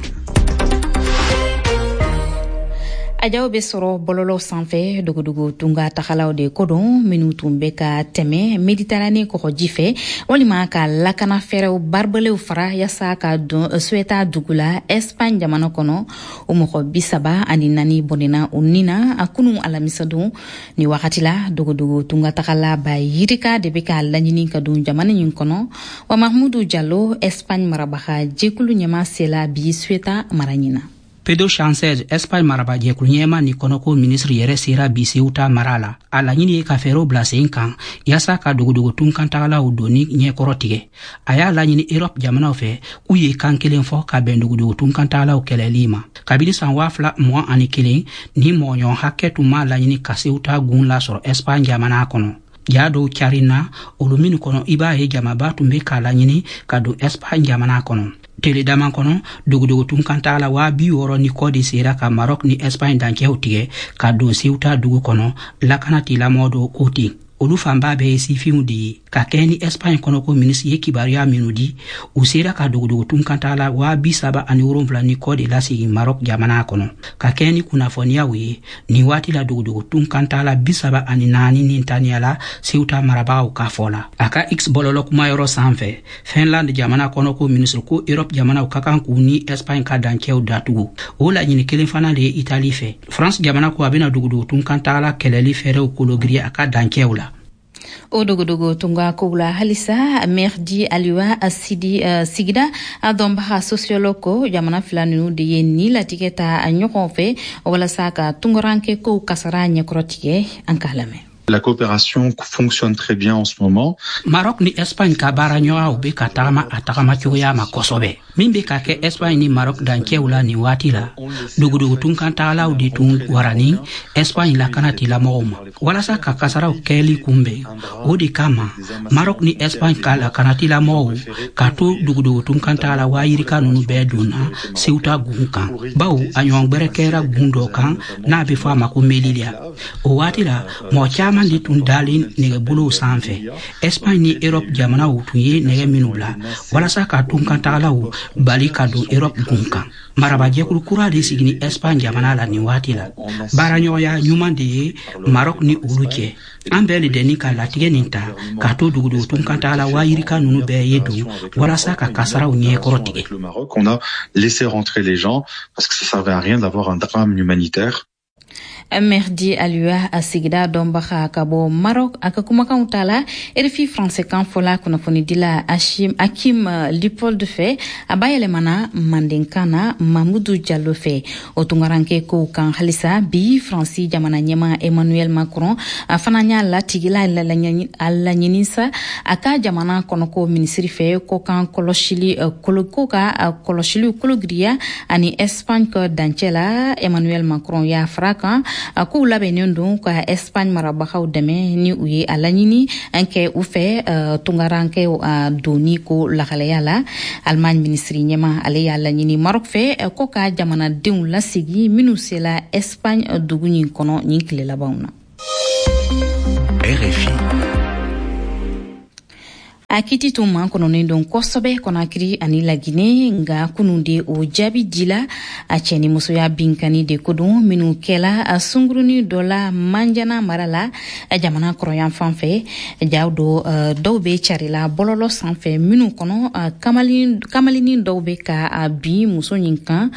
A jaw bɛ sɔrɔ bɔlɔlɔ sanfɛ dogodogo tunga tagalaw de ko don, minnu tun bɛ ka tɛmɛ Mediterane kɔgɔji fɛ walima ka lakana fɛɛrɛw baribalew fara yaasa ka don Ceuta dugu la Espagne jamana kɔnɔ. O mɔgɔ 34 bɔnɛna u ni na a kunu alamisadon. Ni wagati la, dogodogo tunga tagala ba yirika de bɛ ka laɲini ka don jamana in kɔnɔ. Wa Mahmudu Jalo, Espagne marabaga jɛkulu ɲɛmaa, sela bi Ceuta mara ɲin na. Pedro Sanchez, Espagne marabajɛkulu ɲɛma ni kɔnɔko minisiri yɛrɛ sera bi Ceuta mara la. A laɲini ye ka fɛɛrɛw bila sen kan yaasa ka dogodogo tunkantagalaw donni ɲɛkɔrɔ tigɛ. A y'a laɲini Europe jamanaw fɛ k'u ye kan kelen fɔ ka bɛn dogodogo tunkantagalaw kɛlɛli ma. Kabini san 2021, ni mɔgɔɲɔgɔn hakɛ tun m'a laɲini ka Ceuta gun lasɔrɔ Espagne jamana kɔnɔ. Ja dɔw carinna olu minnu kɔnɔ, i b'a ye jamaba tun bɛ k'a laɲini ka don Espagne jamana kɔnɔ. Tele dama kɔnɔ, dogodogo tunkantagala 60,000 ni kɔ de sera ka Maroc ni Espagne dancɛw tigɛ ka don Ceuta dugu kɔnɔ, lakana tigilamɔgɔ dɔw ko ten. Olu fanba bɛɛ ye sifinw de ye. Ka kɛɲɛ ni Espagne kɔnɔko minisiri ye kibaruya minnu di, u sera ka dogodogo tunkantagala 37,000 ni kɔ de lasegin Maroc jamana kɔnɔ. Ka kɛɲɛ ni kunnafoniyaw ye, nin waati la dogodogo tunkantagala 34 ni taniyala Ceuta marabagaw ka fɔ la. A ka X bɔlɔlɔ kumayɔrɔ sanfɛ, Finlande jamana kɔnɔko minisiri ko Europe jamanaw ka kan k'u ni Espagne ka dancɛw datugu. O laɲini kelen fana de ye Italie fɛ. France jamana ko a bɛna dogodogo tunkantagala kɛlɛli fɛɛrɛw kologiriya a ka dancɛw la. O dogodogo tunga kow la halisa, Merdi Aliwa Sidi, sigida a dɔnbaga sociologue, ko jamana fila ninnu de ye ni latigɛ ta a ɲɔgɔn fɛ walasa ka tungaranke kow kasara ɲɛkɔrɔ tigɛ. An k'a lamɛn. La coopération fonctionne très bien en ce moment. Maroc ni Espagne ka baara ɲɔgɔnyaw bɛ ka tagama a tagama cogoya ma kosɛbɛ. Min bɛ ka kɛ Espagne ni Maroc dancɛw la nin waati la, dogodogo tunkantagalaw de tun warani Espagne lakana tigilamɔgɔw ma walasa ka kasaraw kɛli kunbɛn. O de kama Maroc ni Espagne ka lakana tigilamɔgɔw ka to dogodogo tunkantagala 20,000 ninnu bɛɛ donna Ceuta gun kan, bawo a ɲɔgɔn gbɛrɛ kɛra gun dɔ kan n'a bɛ fɔ a ma ko Melilla. O waati la, mɔgɔ caman de tun dalen nɛgɛbolow sanfɛ. Espagne ni Europe jamanaw tun ye nɛgɛ minnu bila walasa ka tunkantagalaw bali ka don Europe gun kan. Marabajɛkulu kura de sigini Espagne jamana la nin waati la. Baaraɲɔgɔnya ɲuman de ye Maroc ni olu cɛ. An bɛɛ le dɛnni ka latigɛ nin ta k'a to dogodogo tunkantagala 20,000 ninnu bɛɛ ye don walasa ka kasaraw ɲɛkɔrɔ tigɛ. On a laissé rentrer les gens parce que ça servait à rien d'avoir un drame humanitaire. Merdi Alua, a sigida dɔnbaga ka bɔ Maroc, a ka kumakanw ta la RFI français kan fɔla kunnafonidila Ashim Akim Lipold fɛ, a bayɛlɛmana mandenkan na Mamudu Jalo fɛ. O tungaranke kow kan halisa bi, Faransi jamana ɲɛma Emmanuel Macron a fana y'a latigila a laɲini sa a ka jamana kɔnɔko minisiri fɛ ko kan kɔlɔsili ko ka kɔlɔsiliw kologiriya ani Espagne ka dancɛ la. Emmanuel Macron y'a fara kan k'u labɛnnen don ka Espagne marabagaw dɛmɛ ni u ye a laɲini kɛ u fɛ tungarankew donni ko lahalaya la. Allemagne minisiri ɲɛma, ale y'a laɲini Maroc fɛ ko ka jamanadenw lasegi minnu sela Espagne dugu ɲin kɔnɔ nin tile labanw na. RFI. A kiti tun makɔnɔnen don kosɛbɛ Kɔnakiri ani Lagine, nga kunun de o jaabi dila. A cɛ ni musoya binkani de ko don minnu kɛla a sunguruni dɔ la Manjana mara la, jamana kɔrɔyan fan fɛ. Jaw dɔ dɔw bɛ carila bɔlɔlɔ sanfɛ minnu kɔnɔ, kamalinin dɔw bɛ ka bin muso ɲin kan.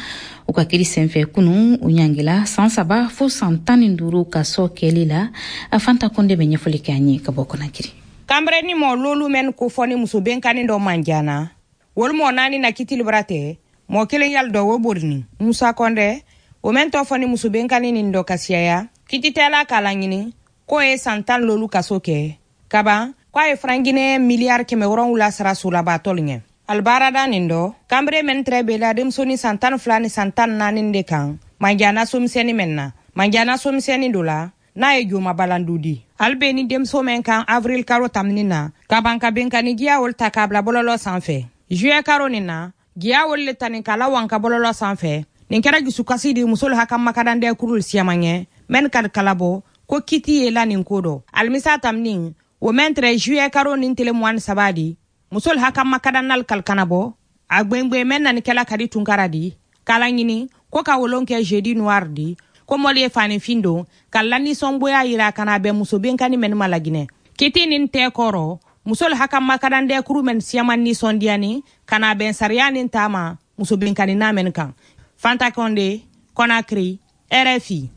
U ka kiri senfɛ kunu, u ɲangila san 3 fo san 15 ka sɔ kɛli la. Fanta Kɔnde bɛ ɲɛfɔli kɛ an ye ka bɔ Kɔnakiri. Kanbere ni mɔɔ lolu mɛn ko fɔ ni muso benkanni dɔ manjana, wolu mɔɔ naani na kitili bara tɛ, mɔɔ kelen yali dɔ wo borini. Musa Kɔndɛ, o mɛn tɔ fɔ ni muso benkanni nin dɔ ka siyaya, kititɛla k'a laɲini k'o ye san 10 lolu kaso kɛ kaban, k'a ye franc guinéen miliyari 700 sara solabatɔlu ɲɛ. Alibaarada nin dɔ, kanbere mɛn tɛrɛ bela denmusonin san 12 ni san 14 de kan Manjana somisɛnni mɛn na. Manjana somisɛnni do la n'a ye joma balandu di, hali be ni denmuso mɛn kan avril karo tamini na ka ban ka benkani giya wolu ta k'a bila bɔlɔlɔ sanfɛ. Juillet karo nin na, giya wolu le tani k'a lawan ka bɔlɔlɔ sanfɛ. Nin kɛra jusukasi di musolu haka makadandɛ kurul siyaman ɲɛ mɛn kadi kalabɔ ko kiti ye la nin ko dɔ. Alimisa tamini, o mɛn tɛrɛ juillet karo nin tele 23 di, musolu haka makadannal kalikana bɔ a gwengwen mɛn nanikɛla kadi tunkara di k'a laɲini ko ka wolon kɛ jeudi noir di, ko mɔli ye fanifin don ka lanisɔngoya yira ka na bɛn muso benkani mɛn ma Laginɛ. Kiti nin tɛ kɔrɔ, musolu haka makadandɛ kuru mɛn siyaman nisɔndiyani ka na bɛn sariya nin taama muso benkani na mɛn kan. Fanta Kɔnde, Kɔnakiri, RFI.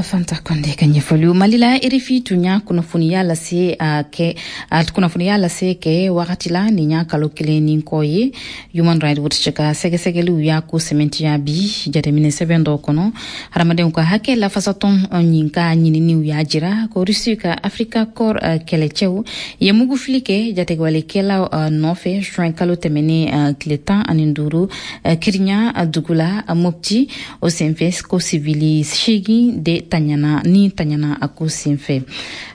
Fanta Kɔnde ka ɲɛfɔliw. Mali la, RFI tun y'a kunnafoniya lase a kɛ a kunnafoniya lase kɛ wagati la nin y'a kalo kelen ni kɔ ye. Human Rights Watch ka sɛgɛsɛgɛliw y'a ko sɛmɛntiya bi jateminɛ sɛbɛn dɔw kɔnɔ. Hadamadenw ka hakɛ lafasatɔn ɲin ka ɲininiw y'a jira ko Rusi ka Africa Corps kɛlɛcɛw ye mugufili kɛ jatigɛwalekɛlaw nɔfɛ juin kalo tɛmɛnen tile 15, Kirinya dugu la Mopti. O senfɛ, ko sivili 8 de taɲana ni taɲana a ko senfɛ.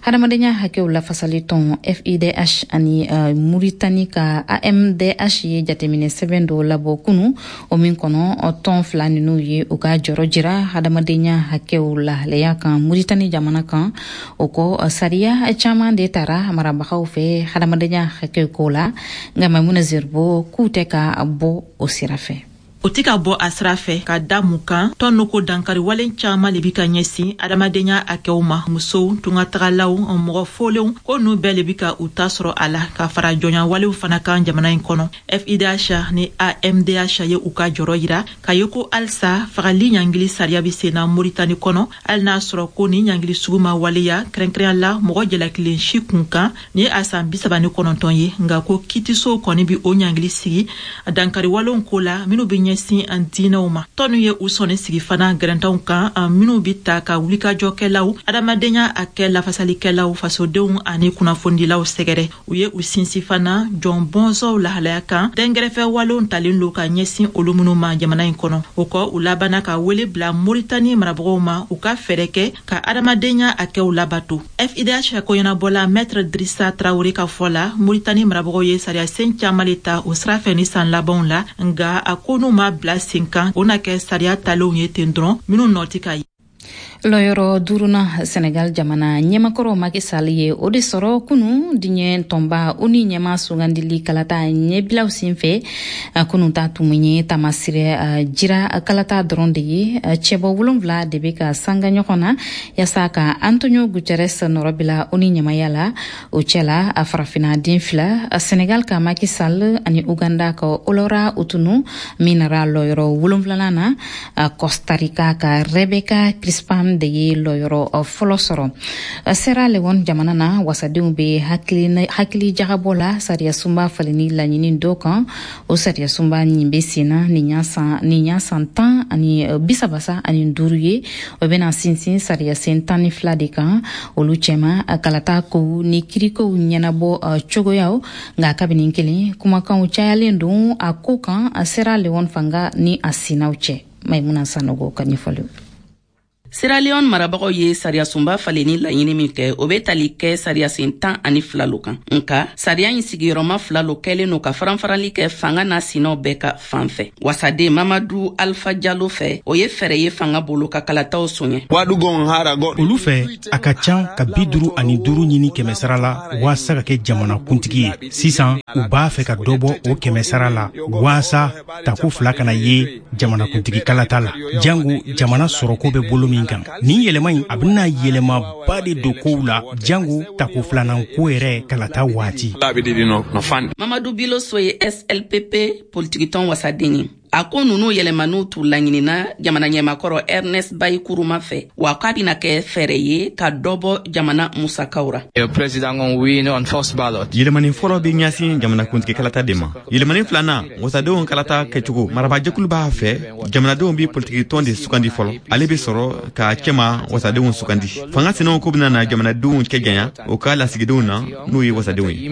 Hadamadenya hakɛw lafasali tɔn FIDH ani Muritani ka AMDH ye jateminɛ sɛbɛn dɔw labɔ kunu, o min kɔnɔ tɔn fila ninu ye u ka jɔrɔ jira hadamadenya hakɛw lahalaya kan Muritani jamana kan. O kɔ, sariya caman de tara marabagaw fɛ hadamadenya hakɛw ko la, nka Maimuna Zerbo k'u tɛ ka bɔ o sira fɛ. O tɛ ka bɔ a sira fɛ ka da mun kan? Tɔn ko dankari walen caaman le bi ka ɲɛsin adamadenya hakɛw ma, musow, tungatagalaw, mɔgɔ folenw, ko n'u bɛɛ le bi ka u ta sɔrɔ a la, ka fara jɔnya walew fana kan jamana in kɔnɔ. FIDH ni AMDH ye u ka jɔrɔ yira ka ye ko halisa fagali ɲangili sariya be senna Moritani kɔnɔ, hali n'a sɔrɔ ko ni ɲangili sugu ma waleya kɛrɛnkɛrɛnya la mɔgɔ jalakilen si kun kan ni ye a san 39 ye, nga ko kitisow kɔni bi o ɲangili sigi dankari walenw ko la minw be ɲɛsin an diinɛw ma. Tɔnu ye u sɔnni sigi fana gɛrɛntanw kan minw bi ta ka wulikajɔkɛlaw, adamadenya hakɛ lafasalikɛlaw, fasodenw ani kunnafonidilaw sɛgɛrɛ. U ye u sinsin fana jɔn bɔnsɔw lahalaya kan, dɛnkɛrɛfɛ walenw talen lo ka ɲɛsin olu minw ma jamana in kɔnɔ. O kɔ, u labanna ka wele bila Moritani marabagaw ma u ka fɛɛrɛ kɛ ka adamadenya hakɛw labato. FIDH koɲɛnabɔla Maître Drissa Traoré ka fɔ la, Moritani marabagaw ye sariya sen caaman le ta o sira fɛ ni san labanw la, nga a ko n'u ma bila sen kan, o na kɛ sariya talenw ye ten dɔrɔn minw nɔ tɛ ka ye. Lɔyɔrɔ duruna, Senegal jamana ɲɛmakɔrɔ Macky Sall ye o de sɔrɔ kunu diɲɛ tɔnba ONU ɲɛma sugandili kalata ɲɛbilaw sen fɛ. Kunu ta tun ye tamasirɛ jira kalata dɔrɔn de ye. Cɛbɔ 7 de bɛ ka sanga ɲɔgɔn na yaasa ka Antonio Guterres nɔrɔbila ONU ɲɛmaya la. O cɛla, a farafina den fila, Senegal ka Macky Sall ani Uganda ka Olora Utunu min nara lɔyɔrɔ wolonfilanan na, Costa Rica ka Rebecca Crispin. Leone de ye lɔyɔrɔ fɔlɔ sɔrɔ. Sierra Leone jamana na, wasadenw bɛ hakili jagabɔ la sariyasunba falenni laɲini dɔ kan. O sariyasunba nin bɛ sen na nin y'a san 135 ye. O bɛna sinsin sariyasen 12 de kan, olu cɛma kalata kow ni kirikow ɲɛnabɔ cogoyaw. Nka kabini kelen, kumakanw cayalen don a ko kan Sierra Leone fanga ni a sinaw cɛ. Maimuna Sanogo ka ɲɛfɔliw. Sierra Leone marabagaw ye sariyasunba falenni laɲini min kɛ, o be tali kɛ sariyasen 12 lo kan. Nka sariya ɲi sigiyɔrɔma fila lo kɛlen no ka faranfarali kɛ fanga n'a sinaw bɛɛ ka fan fɛ. Wasaden Mamadu Alfa Jalo fɛ, o ye fɛɛrɛ ye fanga bolo ka kalataw soɲɛ. Olu fɛ, a ka can ka 55 ɲini kɛmɛsara la waasa ka kɛ jamana kuntigi ye. Sisan u b'a fɛ ka dɔ bɔ o kɛmɛsara la waasa tako fila kana ye jamanakuntigi kalata la, jango jamana sɔrɔko bɛ bolo min kan. Nin yɛlɛma in, a bɛna yɛlɛmaba de don kow la, jango tako filanan ko yɛrɛ kalata waati. Mamadu Biloso ye SLPP politikitɔn wasaden ye. A ko nunu yɛlɛmaniw t'u laɲinina jamana ɲɛmakɔrɔ Ernest Bai Kuruma fɛ, wa k'a bɛna kɛ fɛɛrɛ ye ka dɔ bɔ jamana musakaw ra. Yɛlɛmani fɔlɔ bɛ ɲɛsin jamanakuntigi kalata de ma. Yɛlɛmani filanan, wasadenw kalata kɛcogo. Marabajɛkulu b'a fɛ jamanadenw bɛ politikitɔn de sugandi fɔlɔ, ale bɛ sɔrɔ ka cɛma wasadenw sugandi. Fanga sinaw ko bɛna na jamanadenw cɛ janya o ka lasigidenw na, n'o ye wasadenw ye.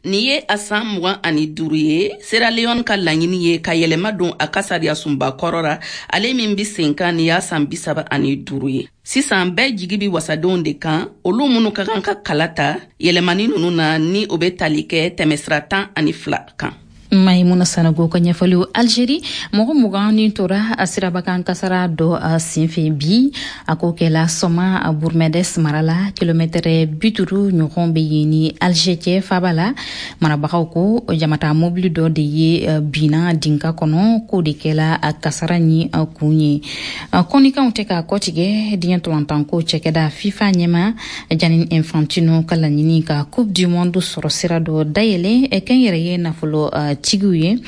Nin ye a san 25 ye Sierra Leone ka laɲini ye ka yɛlɛma don a ka sariyasunba kɔrɔ ra, ale min be sen kan nin y'a san 35 ye. Sisan bɛɛ jigi bi wasadenw de kan, olu minnu ka kan ka kala ta yɛlɛmani nunu na, ni o be tali kɛ tɛmɛsira 12 kan. Maimuna Sanogo ka ɲɛfɔliw. Algérie, mɔgɔ 20 ni tora a sirabakan kasara dɔ a senfɛ bi. A ko kɛla Sɔma Bourmedes mara la, kilomɛtɛrɛ 50 ɲɔgɔn bɛ yen ni Alger cɛ faba la. Marabagaw ko jamata mobili dɔ de ye binna dinka kɔnɔ, k'o de kɛla a kasara ni kun ye. Kɔnikanw tɛ k'a kɔtigɛ diɲɛ tɔlantanko cɛkɛda FIFA ɲɛma Gianni Infantino ka laɲini ka Coupe du Monde sɔrɔ sira dɔ dayɛlɛ kɛnyɛrɛye nafolo tigiw ye,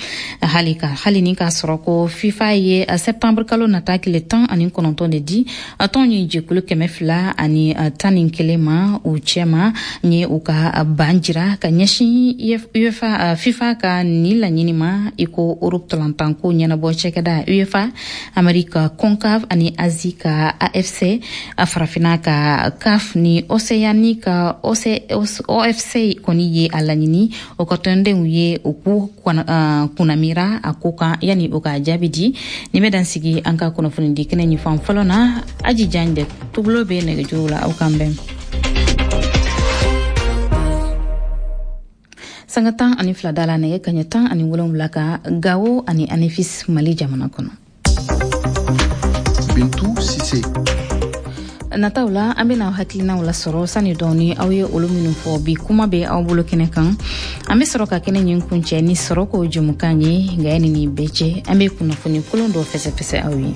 hali ni k'a sɔrɔ ko FIFA ye septembre kalo nata tile 19 de di tɔn ye jɛkulu 211 ma u cɛma ye u ka ban jira ka ɲɛsin UEFA FIFA ka nin laɲini ma, i ko Europe tɔlantanko ɲɛnabɔ cɛkɛda UEFA, Amerika CONCACAF ani Asie ka AFC, Farafina ka CAF ni Océanie ka OFC kɔni ye a laɲini o ka tɔndenw ye u k'u kunnamira a ko kan yanni o ka jaabi di. Nin bɛ dan sigi an ka kunnafoni di kɛnɛ ɲin fan fɔlɔ na. Aji Jan de tugulo bɛ nɛgɛjuru la, aw kan bɛn sanga 12 da la, nɛgɛ kaɲɛ 17 ka Gawo ani Anefis, Mali jamana kɔnɔ. Bintu Sise. Nataw la, an bena hakilinaw lasɔrɔ sani dɔɔni aw ye olu minnu fɔ bi kuma bɛ aw bolo kɛnɛ kan. An be sɔrɔ ka kɛnɛ ɲin kuncɛ ni sɔrɔ ko jɛmukan ye. Nka yani nin bɛɛ cɛ, an be kunnafoni kolon dɔ fɛsɛfɛsɛ aw ye.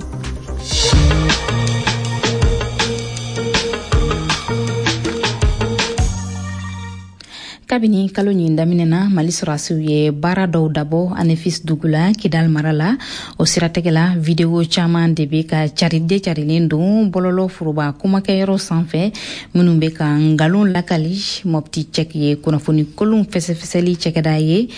Kabini kalo ɲin daminɛ na, Mali sɔrɔdasiw ye baara dɔw dabɔ Anefis dugu la, Kidal mara la. O siratigɛ la, video caman de bɛ ka caride carilen don bɔlɔlɔ foroba kumakɛyɔrɔ sanfɛ, minnu bɛ ka nkalon lakali. Mopti Cɛk ye kunnafoni kolon fɛsɛfɛsɛli cɛkɛda ye,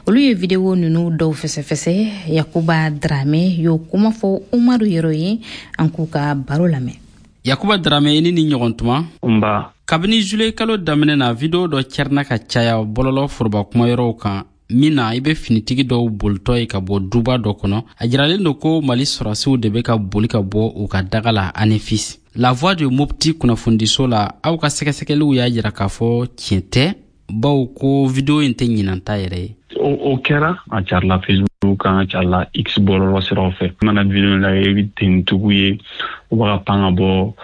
olu ye video ninnu dɔw fɛsɛfɛsɛ. Yakuba Drame y'o kuma fɔ Umaru Yɛrɛ ye, an k'u ka baro lamɛn. Yakuba Drame, i ni ni ɲɔgɔn tuma. Nba. Kabini juillet kalo daminɛ na, video dɔ cɛrina ka caya bɔlɔlɔ foroba kumayɔrɔw kan min na i bɛ finitigi dɔw bolitɔ ye ka bɔ duba dɔ kɔnɔ. A jiralen don ko Mali sɔrɔdasiw de bɛ ka boli ka bɔ u ka daga la Anefis. La Voix de Mopti kunnafonidiso la, aw ka sɛgɛsɛgɛliw y'a jira k'a fɔ tiɲɛ tɛ, bawo ko video in tɛ ɲinan ta yɛrɛ ye. O kɛra, a carila Facebook kan, a carila X bɔlɔlɔ siraw fɛ. I mana video lajɛ, i bɛ tenitigiw ye, u b'a ka pan ka bɔ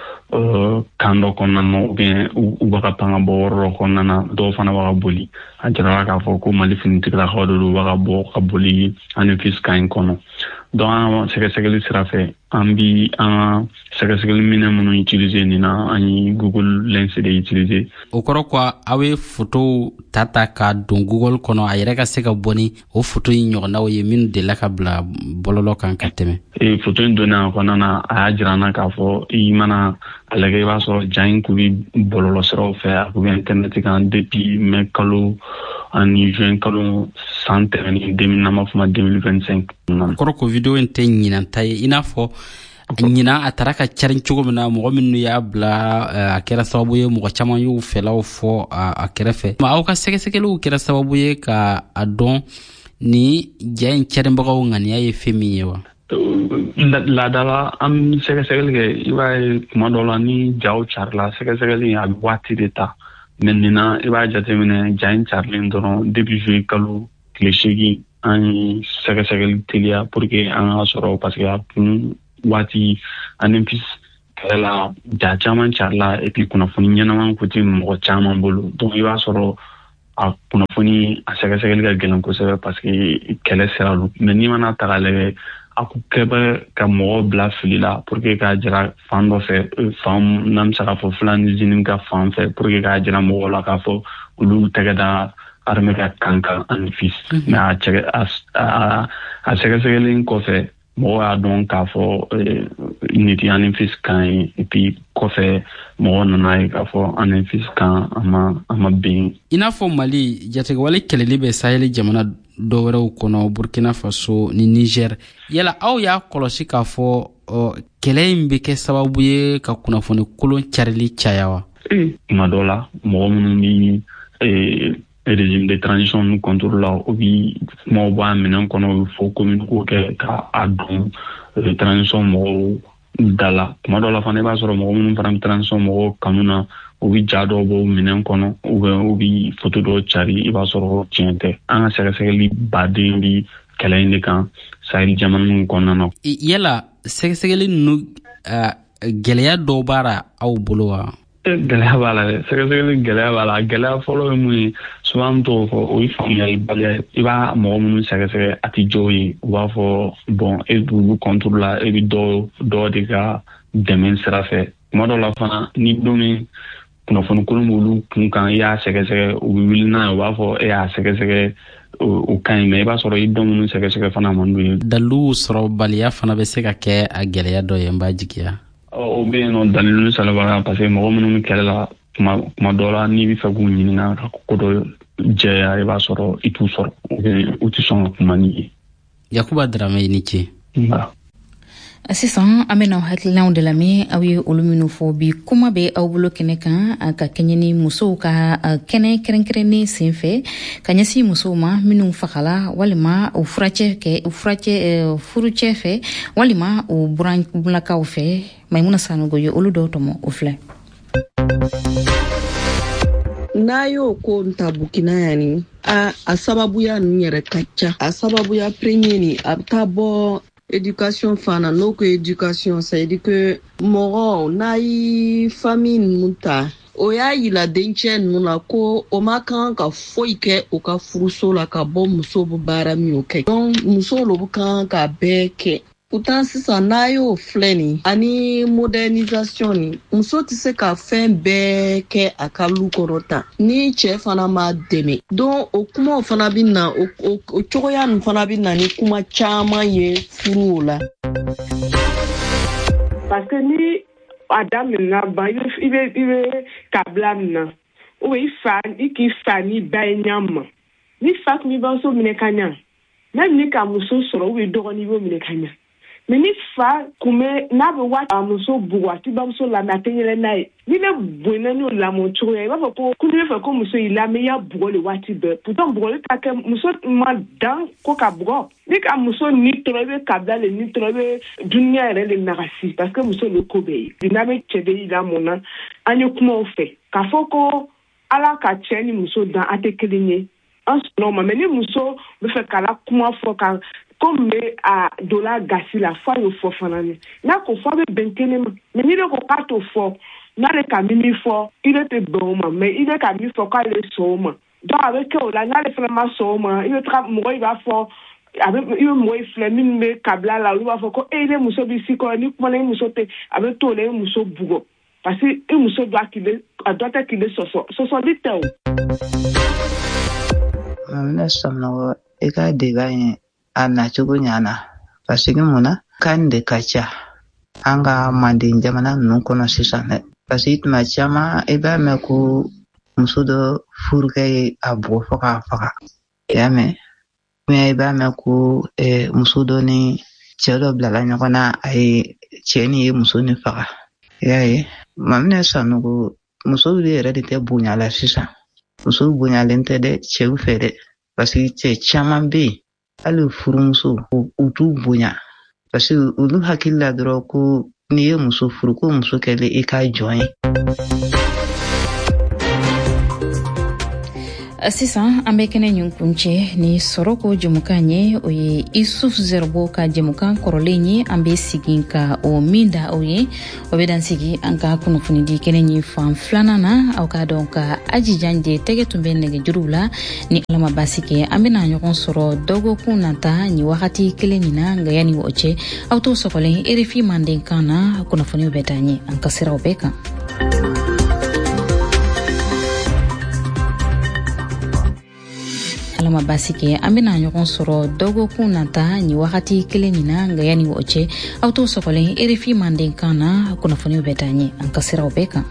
Camp dɔ kɔnɔna na ou bien u bɛ ka pan ka bɔ yɔrɔ dɔ kɔnɔna na, dɔw fana bɛ ka boli. A jirala k'a fɔ ko Mali finitigilakaw de don, u bɛ ka bɔ ka boli Anefis camp in kɔnɔ. Donc an ka sɛgɛsɛgɛli sira fɛ, an bi an ka sɛgɛsɛgɛli minɛn minnu utiliser nin na, an ye Google Lens de utiliser. O kɔrɔ ko aw ye fotow ta ta ka don Google kɔnɔ, a yɛrɛ ka se ka bɔ ni o foto in ɲɔgɔnnaw ye minnu delila ka bila bɔlɔlɔ kan ka tɛmɛ. Ee, foto in donnen a kɔnɔna na, a y'a jira an na k'a fɔ i mana a lajɛ, i b'a sɔrɔ ja in kun bɛ bɔlɔlɔ siraw fɛ, a kun bɛ internet kan depuis mai kalo ani juin kalo san tɛmɛnen, n'an b'a fɔ ma 2025. Kɔrɔ ko video in tɛ ɲinan ta ye, i n'a fɔ ɲinan a taara ka carin cogo min na, mɔgɔ minnu y'a bila, a kɛra sababu ye mɔgɔ caman y'u fɛlaw fɔ a kɛrɛfɛ. Aw ka sɛgɛsɛgɛliw kɛra sababu ye ka a dɔn ni ja in carinbagaw ŋaniya ye fɛn min ye wa? Laadala an bɛ sɛgɛsɛgɛli kɛ, i b'a ye tuma dɔ la ni jaw carila, sɛgɛsɛgɛli a bɛ waati de ta. Mais nin na, i b'a jateminɛ, ja in carilen dɔrɔn, depuis juillet kalo tile 8, an ye sɛgɛsɛgɛli teliya pour que an ka sɔrɔ, parce que a kun waati Anefis kɛlɛ la, ja caman carila, et puis kunnafoni ɲɛnama kun tɛ mɔgɔ caman bolo. Donc i b'a sɔrɔ a kunnafoni a sɛgɛsɛgɛli ka gɛlɛn kosɛbɛ, parce que kɛlɛ sira don. Mais n'i mana ta k'a lajɛ, a kun kɛ bɛ ka mɔgɔw bila fili la pour que k'a jira fan dɔ fɛ, fan n'an bɛ se k'a fɔ Fulani JNIM ka fan fɛ, pour que k'a jira mɔgɔw la k'a fɔ olu tɛgɛ da armée ka camp kan Anefis. Mais a sɛgɛsɛgɛli kɔfɛ, mɔgɔw y'a dɔn k'a fɔ nin tɛ Anefis camp ye. Et puis kɔfɛ, mɔgɔw nana ye k'a fɔ Anefis camp a ma bin. I n'a fɔ Mali jatigɛwale kɛlɛli bɛ Saheli jamana dɔ wɛrɛw kɔnɔ, Burkina Faso ni Niger, yala aw y'a kɔlɔsi k'a fɔ kɛlɛ in bɛ kɛ sababu ye ka kunnafoni kolon carili caya wa? Tuma dɔ la, mɔgɔ minnu bi régime de transition nu contre la, o bi kumaw bɔ a minɛn kɔnɔ, u bɛ fɔ communiqué kɛ ka a don transition mɔgɔw da la. Tuma dɔ la fana, i b'a sɔrɔ mɔgɔ minnu fana bɛ transition mɔgɔw kanu na, u bɛ ja dɔw bɔ minɛn kɔnɔ, ou bien u bɛ photo dɔw cari, i b'a sɔrɔ tiɲɛ tɛ. An ka sɛgɛsɛgɛli baden bi kɛlɛ in de kan Sahel jamana ninnu kɔnɔna na. Yala sɛgɛsɛgɛli ninnu, gɛlɛya dɔw b'a la aw bolo wa? Gɛlɛya b'a la dɛ, sɛgɛsɛgɛli gɛlɛya b'a la. Gɛlɛya fɔlɔ ye mun ye? Souvent an t'o fɔ, o ye faamuyalibaliya ye. I b'a mɔgɔ minnu sɛgɛsɛgɛ, a tɛ jɔw ye, u b'a fɔ bon, e b'olu contre la, e bɛ dɔ dɔ de ka dɛmɛ sira fɛ. Tuma dɔw la fana, ni don min kunnafoni kolon b'olu kun kan, i y'a sɛgɛsɛgɛ, u bɛ wuli n'a ye, u b'a fɔ e y'a sɛgɛsɛgɛ, o ka ɲi. Mais i b'a sɔrɔ i dɔ minnu sɛgɛsɛgɛ fana man d'u ye. Daliluw sɔrɔbaliya fana bɛ se ka kɛ a gɛlɛya dɔ ye, n b'a jigiya. O bɛ yen nɔ, dalilu sɔrɔbaliya, parce que mɔgɔ minnu bɛ kɛlɛ la, tuma dɔ la, n'i bɛ fɛ k'u ɲininka ka ko dɔ jɛya, i b'a sɔrɔ i t'u sɔrɔ, u tɛ sɔn ka kuma n'i ye. Yakuba Darame, i ni ce. Sisan an bɛna hakilinaw de lamɛn, aw ye olu minnu fɔ bi kuma bɛ aw bolo kɛnɛ kan, ka kɛɲɛ ni musow ka kɛnɛ kɛrɛnkɛrɛnnen sen fɛ ka ɲɛsin musow ma minnu fagala walima u furacɛ kɛ u furacɛ furucɛ fɛ walima u buranlakaw fɛ. Maimuna Sanogo ye olu dɔw tɔmɔ, o filɛ. N'a y'o ko ta Burkina yan ni a sababuya ninnu yɛrɛ ka ca. A sababuya premier ni, a bɛ taa bɔ éducation fana. N'o ko éducation, c'est à dire que mɔgɔ n'a ye famille ninnu ta, o y'a yira dencɛ ninnu na ko o ma kan ka foyi kɛ u ka furuso la ka bɔ muso bɛ baara min kɛ. Donc muso lo bɛ kan ka bɛɛ kɛ. Pourtant sisan, n'a y'o filɛ nin ani modernisation ni, muso tɛ se ka fɛn bɛɛ kɛ a ka lu kɔnɔ tan ni cɛ fana ma dɛmɛ. Donc o kumaw fana bɛ na, o cogoya nin fana bɛ na ni kuma caman ye furuw la. Parce que ni a daminɛna ban, i bɛ kabila min na, ou bien i fa, i k'i fa ni ba ye ɲa ma, ni fa tun b'i bamuso minɛ ka ɲa, même ni ka muso sɔrɔ ou bien dɔgɔnin, i b'o minɛ ka ɲa. Mais ni fa kun bɛ n'a bɛ waati a muso bugɔ, a t'i bamuso lamɛn, a tɛ yɛlɛ n'a ye. Ni ne bonyana n'o lamɔ cogoya, i b'a fɔ ko n'i bɛ fɛ ko muso y'i lamɛn, i y'a bugɔ le waati bɛɛ. Pourtant bugɔli ta kɛ, muso ma dan ko ka bugɔ. Ni ka muso ni tɔrɔ, i bɛ kabila le ni tɔrɔ, i bɛ dunuya yɛrɛ le nagasi, parce que muso le ko bɛɛ ye. N'a bɛ cɛ de y'i lamɔ na, an ye kumaw fɛ k'a fɔ ko Ala ka cɛ ni muso dan, a tɛ kelen ye, an sɔnna o ma. Mais ni muso bɛ fɛ k'a la kuma fɔ ka Ko min bɛ a donna gasi la, f'a y'o fɔ fana ye. N'a ko fɔ, a bɛ bɛn kelen ma. Mais n'i de ko k'a t'o fɔ, n'ale ka min fɔ, i de tɛ bɛn o ma. Mais i de ka min fɔ k'ale sɔn o ma, donc a bɛ kɛ o la. N'ale fana ma sɔn o ma, i bɛ taga mɔgɔ, i b'a fɔ a bɛ, i bɛ mɔgɔ filɛ minnu bɛ kabila la, olu b'a fɔ ko e ne muso b'i si kɔrɔ, ni kumana i muso tɛ, a bɛ to o la, i muso bugɔ, parce que i muso dɔ kile a dɔ tɛ kile sɔsɔ, sɔsɔli tɛ o. Maminɛ Samunɔgɔ, i ka débat in a nacogo ɲana, parce que mun na, kan de ka ca an ka manden jamana ninnu kɔnɔ sisan dɛ, parce que tuma caman i b'a mɛn ko muso dɔ furukɛ ye a bugɔ fo k'a faga, i y'a mɛn, i b'a mɛn ko muso dɔ ni cɛ dɔ bilala ɲɔgɔn na, a ye cɛ ni ye muso ni faga, i y'a ye. Maminɛ Sanogo, musow de yɛrɛ de tɛ bonya la sisan, musow bonyalen tɛ dɛ cɛw fɛ dɛ, parce que cɛ caman bɛ yen, hali furumuso u t'u bonya, parce que olu hakili la dɔrɔn ko n'i ye muso furu, ko muso kɛlen i ka jɔn ye. Sisan an bɛ kɛnɛ ɲin kuncɛ ni sɔrɔko jɛmukan ye. O ye Isuf Zerbo ka jɛmukan kɔrɔlen ye, an bɛ segin ka o min da aw ye. O bɛ dan sigi an ka kunnafonidi kɛnɛ ɲin fan filanan na. Aw k'a dɔn ka Aji Janje tɛgɛ tun bɛ nɛgɛjuruw la. Ni Ala ma baasi kɛ, an bɛna ɲɔgɔn sɔrɔ dɔgɔkun nata nin wagati kelen nin na. Nka yanni o cɛ, aw t'o sɔgɔlen RFI Mandenkan na, kunnafoniw bɛ taa ɲɛ an ka siraw bɛɛ kan. Ala ma baasi kɛ, an bɛna ɲɔgɔn sɔrɔ dɔgɔkun nata nin wagati kelen nin na. Nka yanni o cɛ, aw t'o sɔgɔlen RFI Mandenkan na, kunnafoniw bɛ taa ɲɛ an ka siraw bɛɛ kan.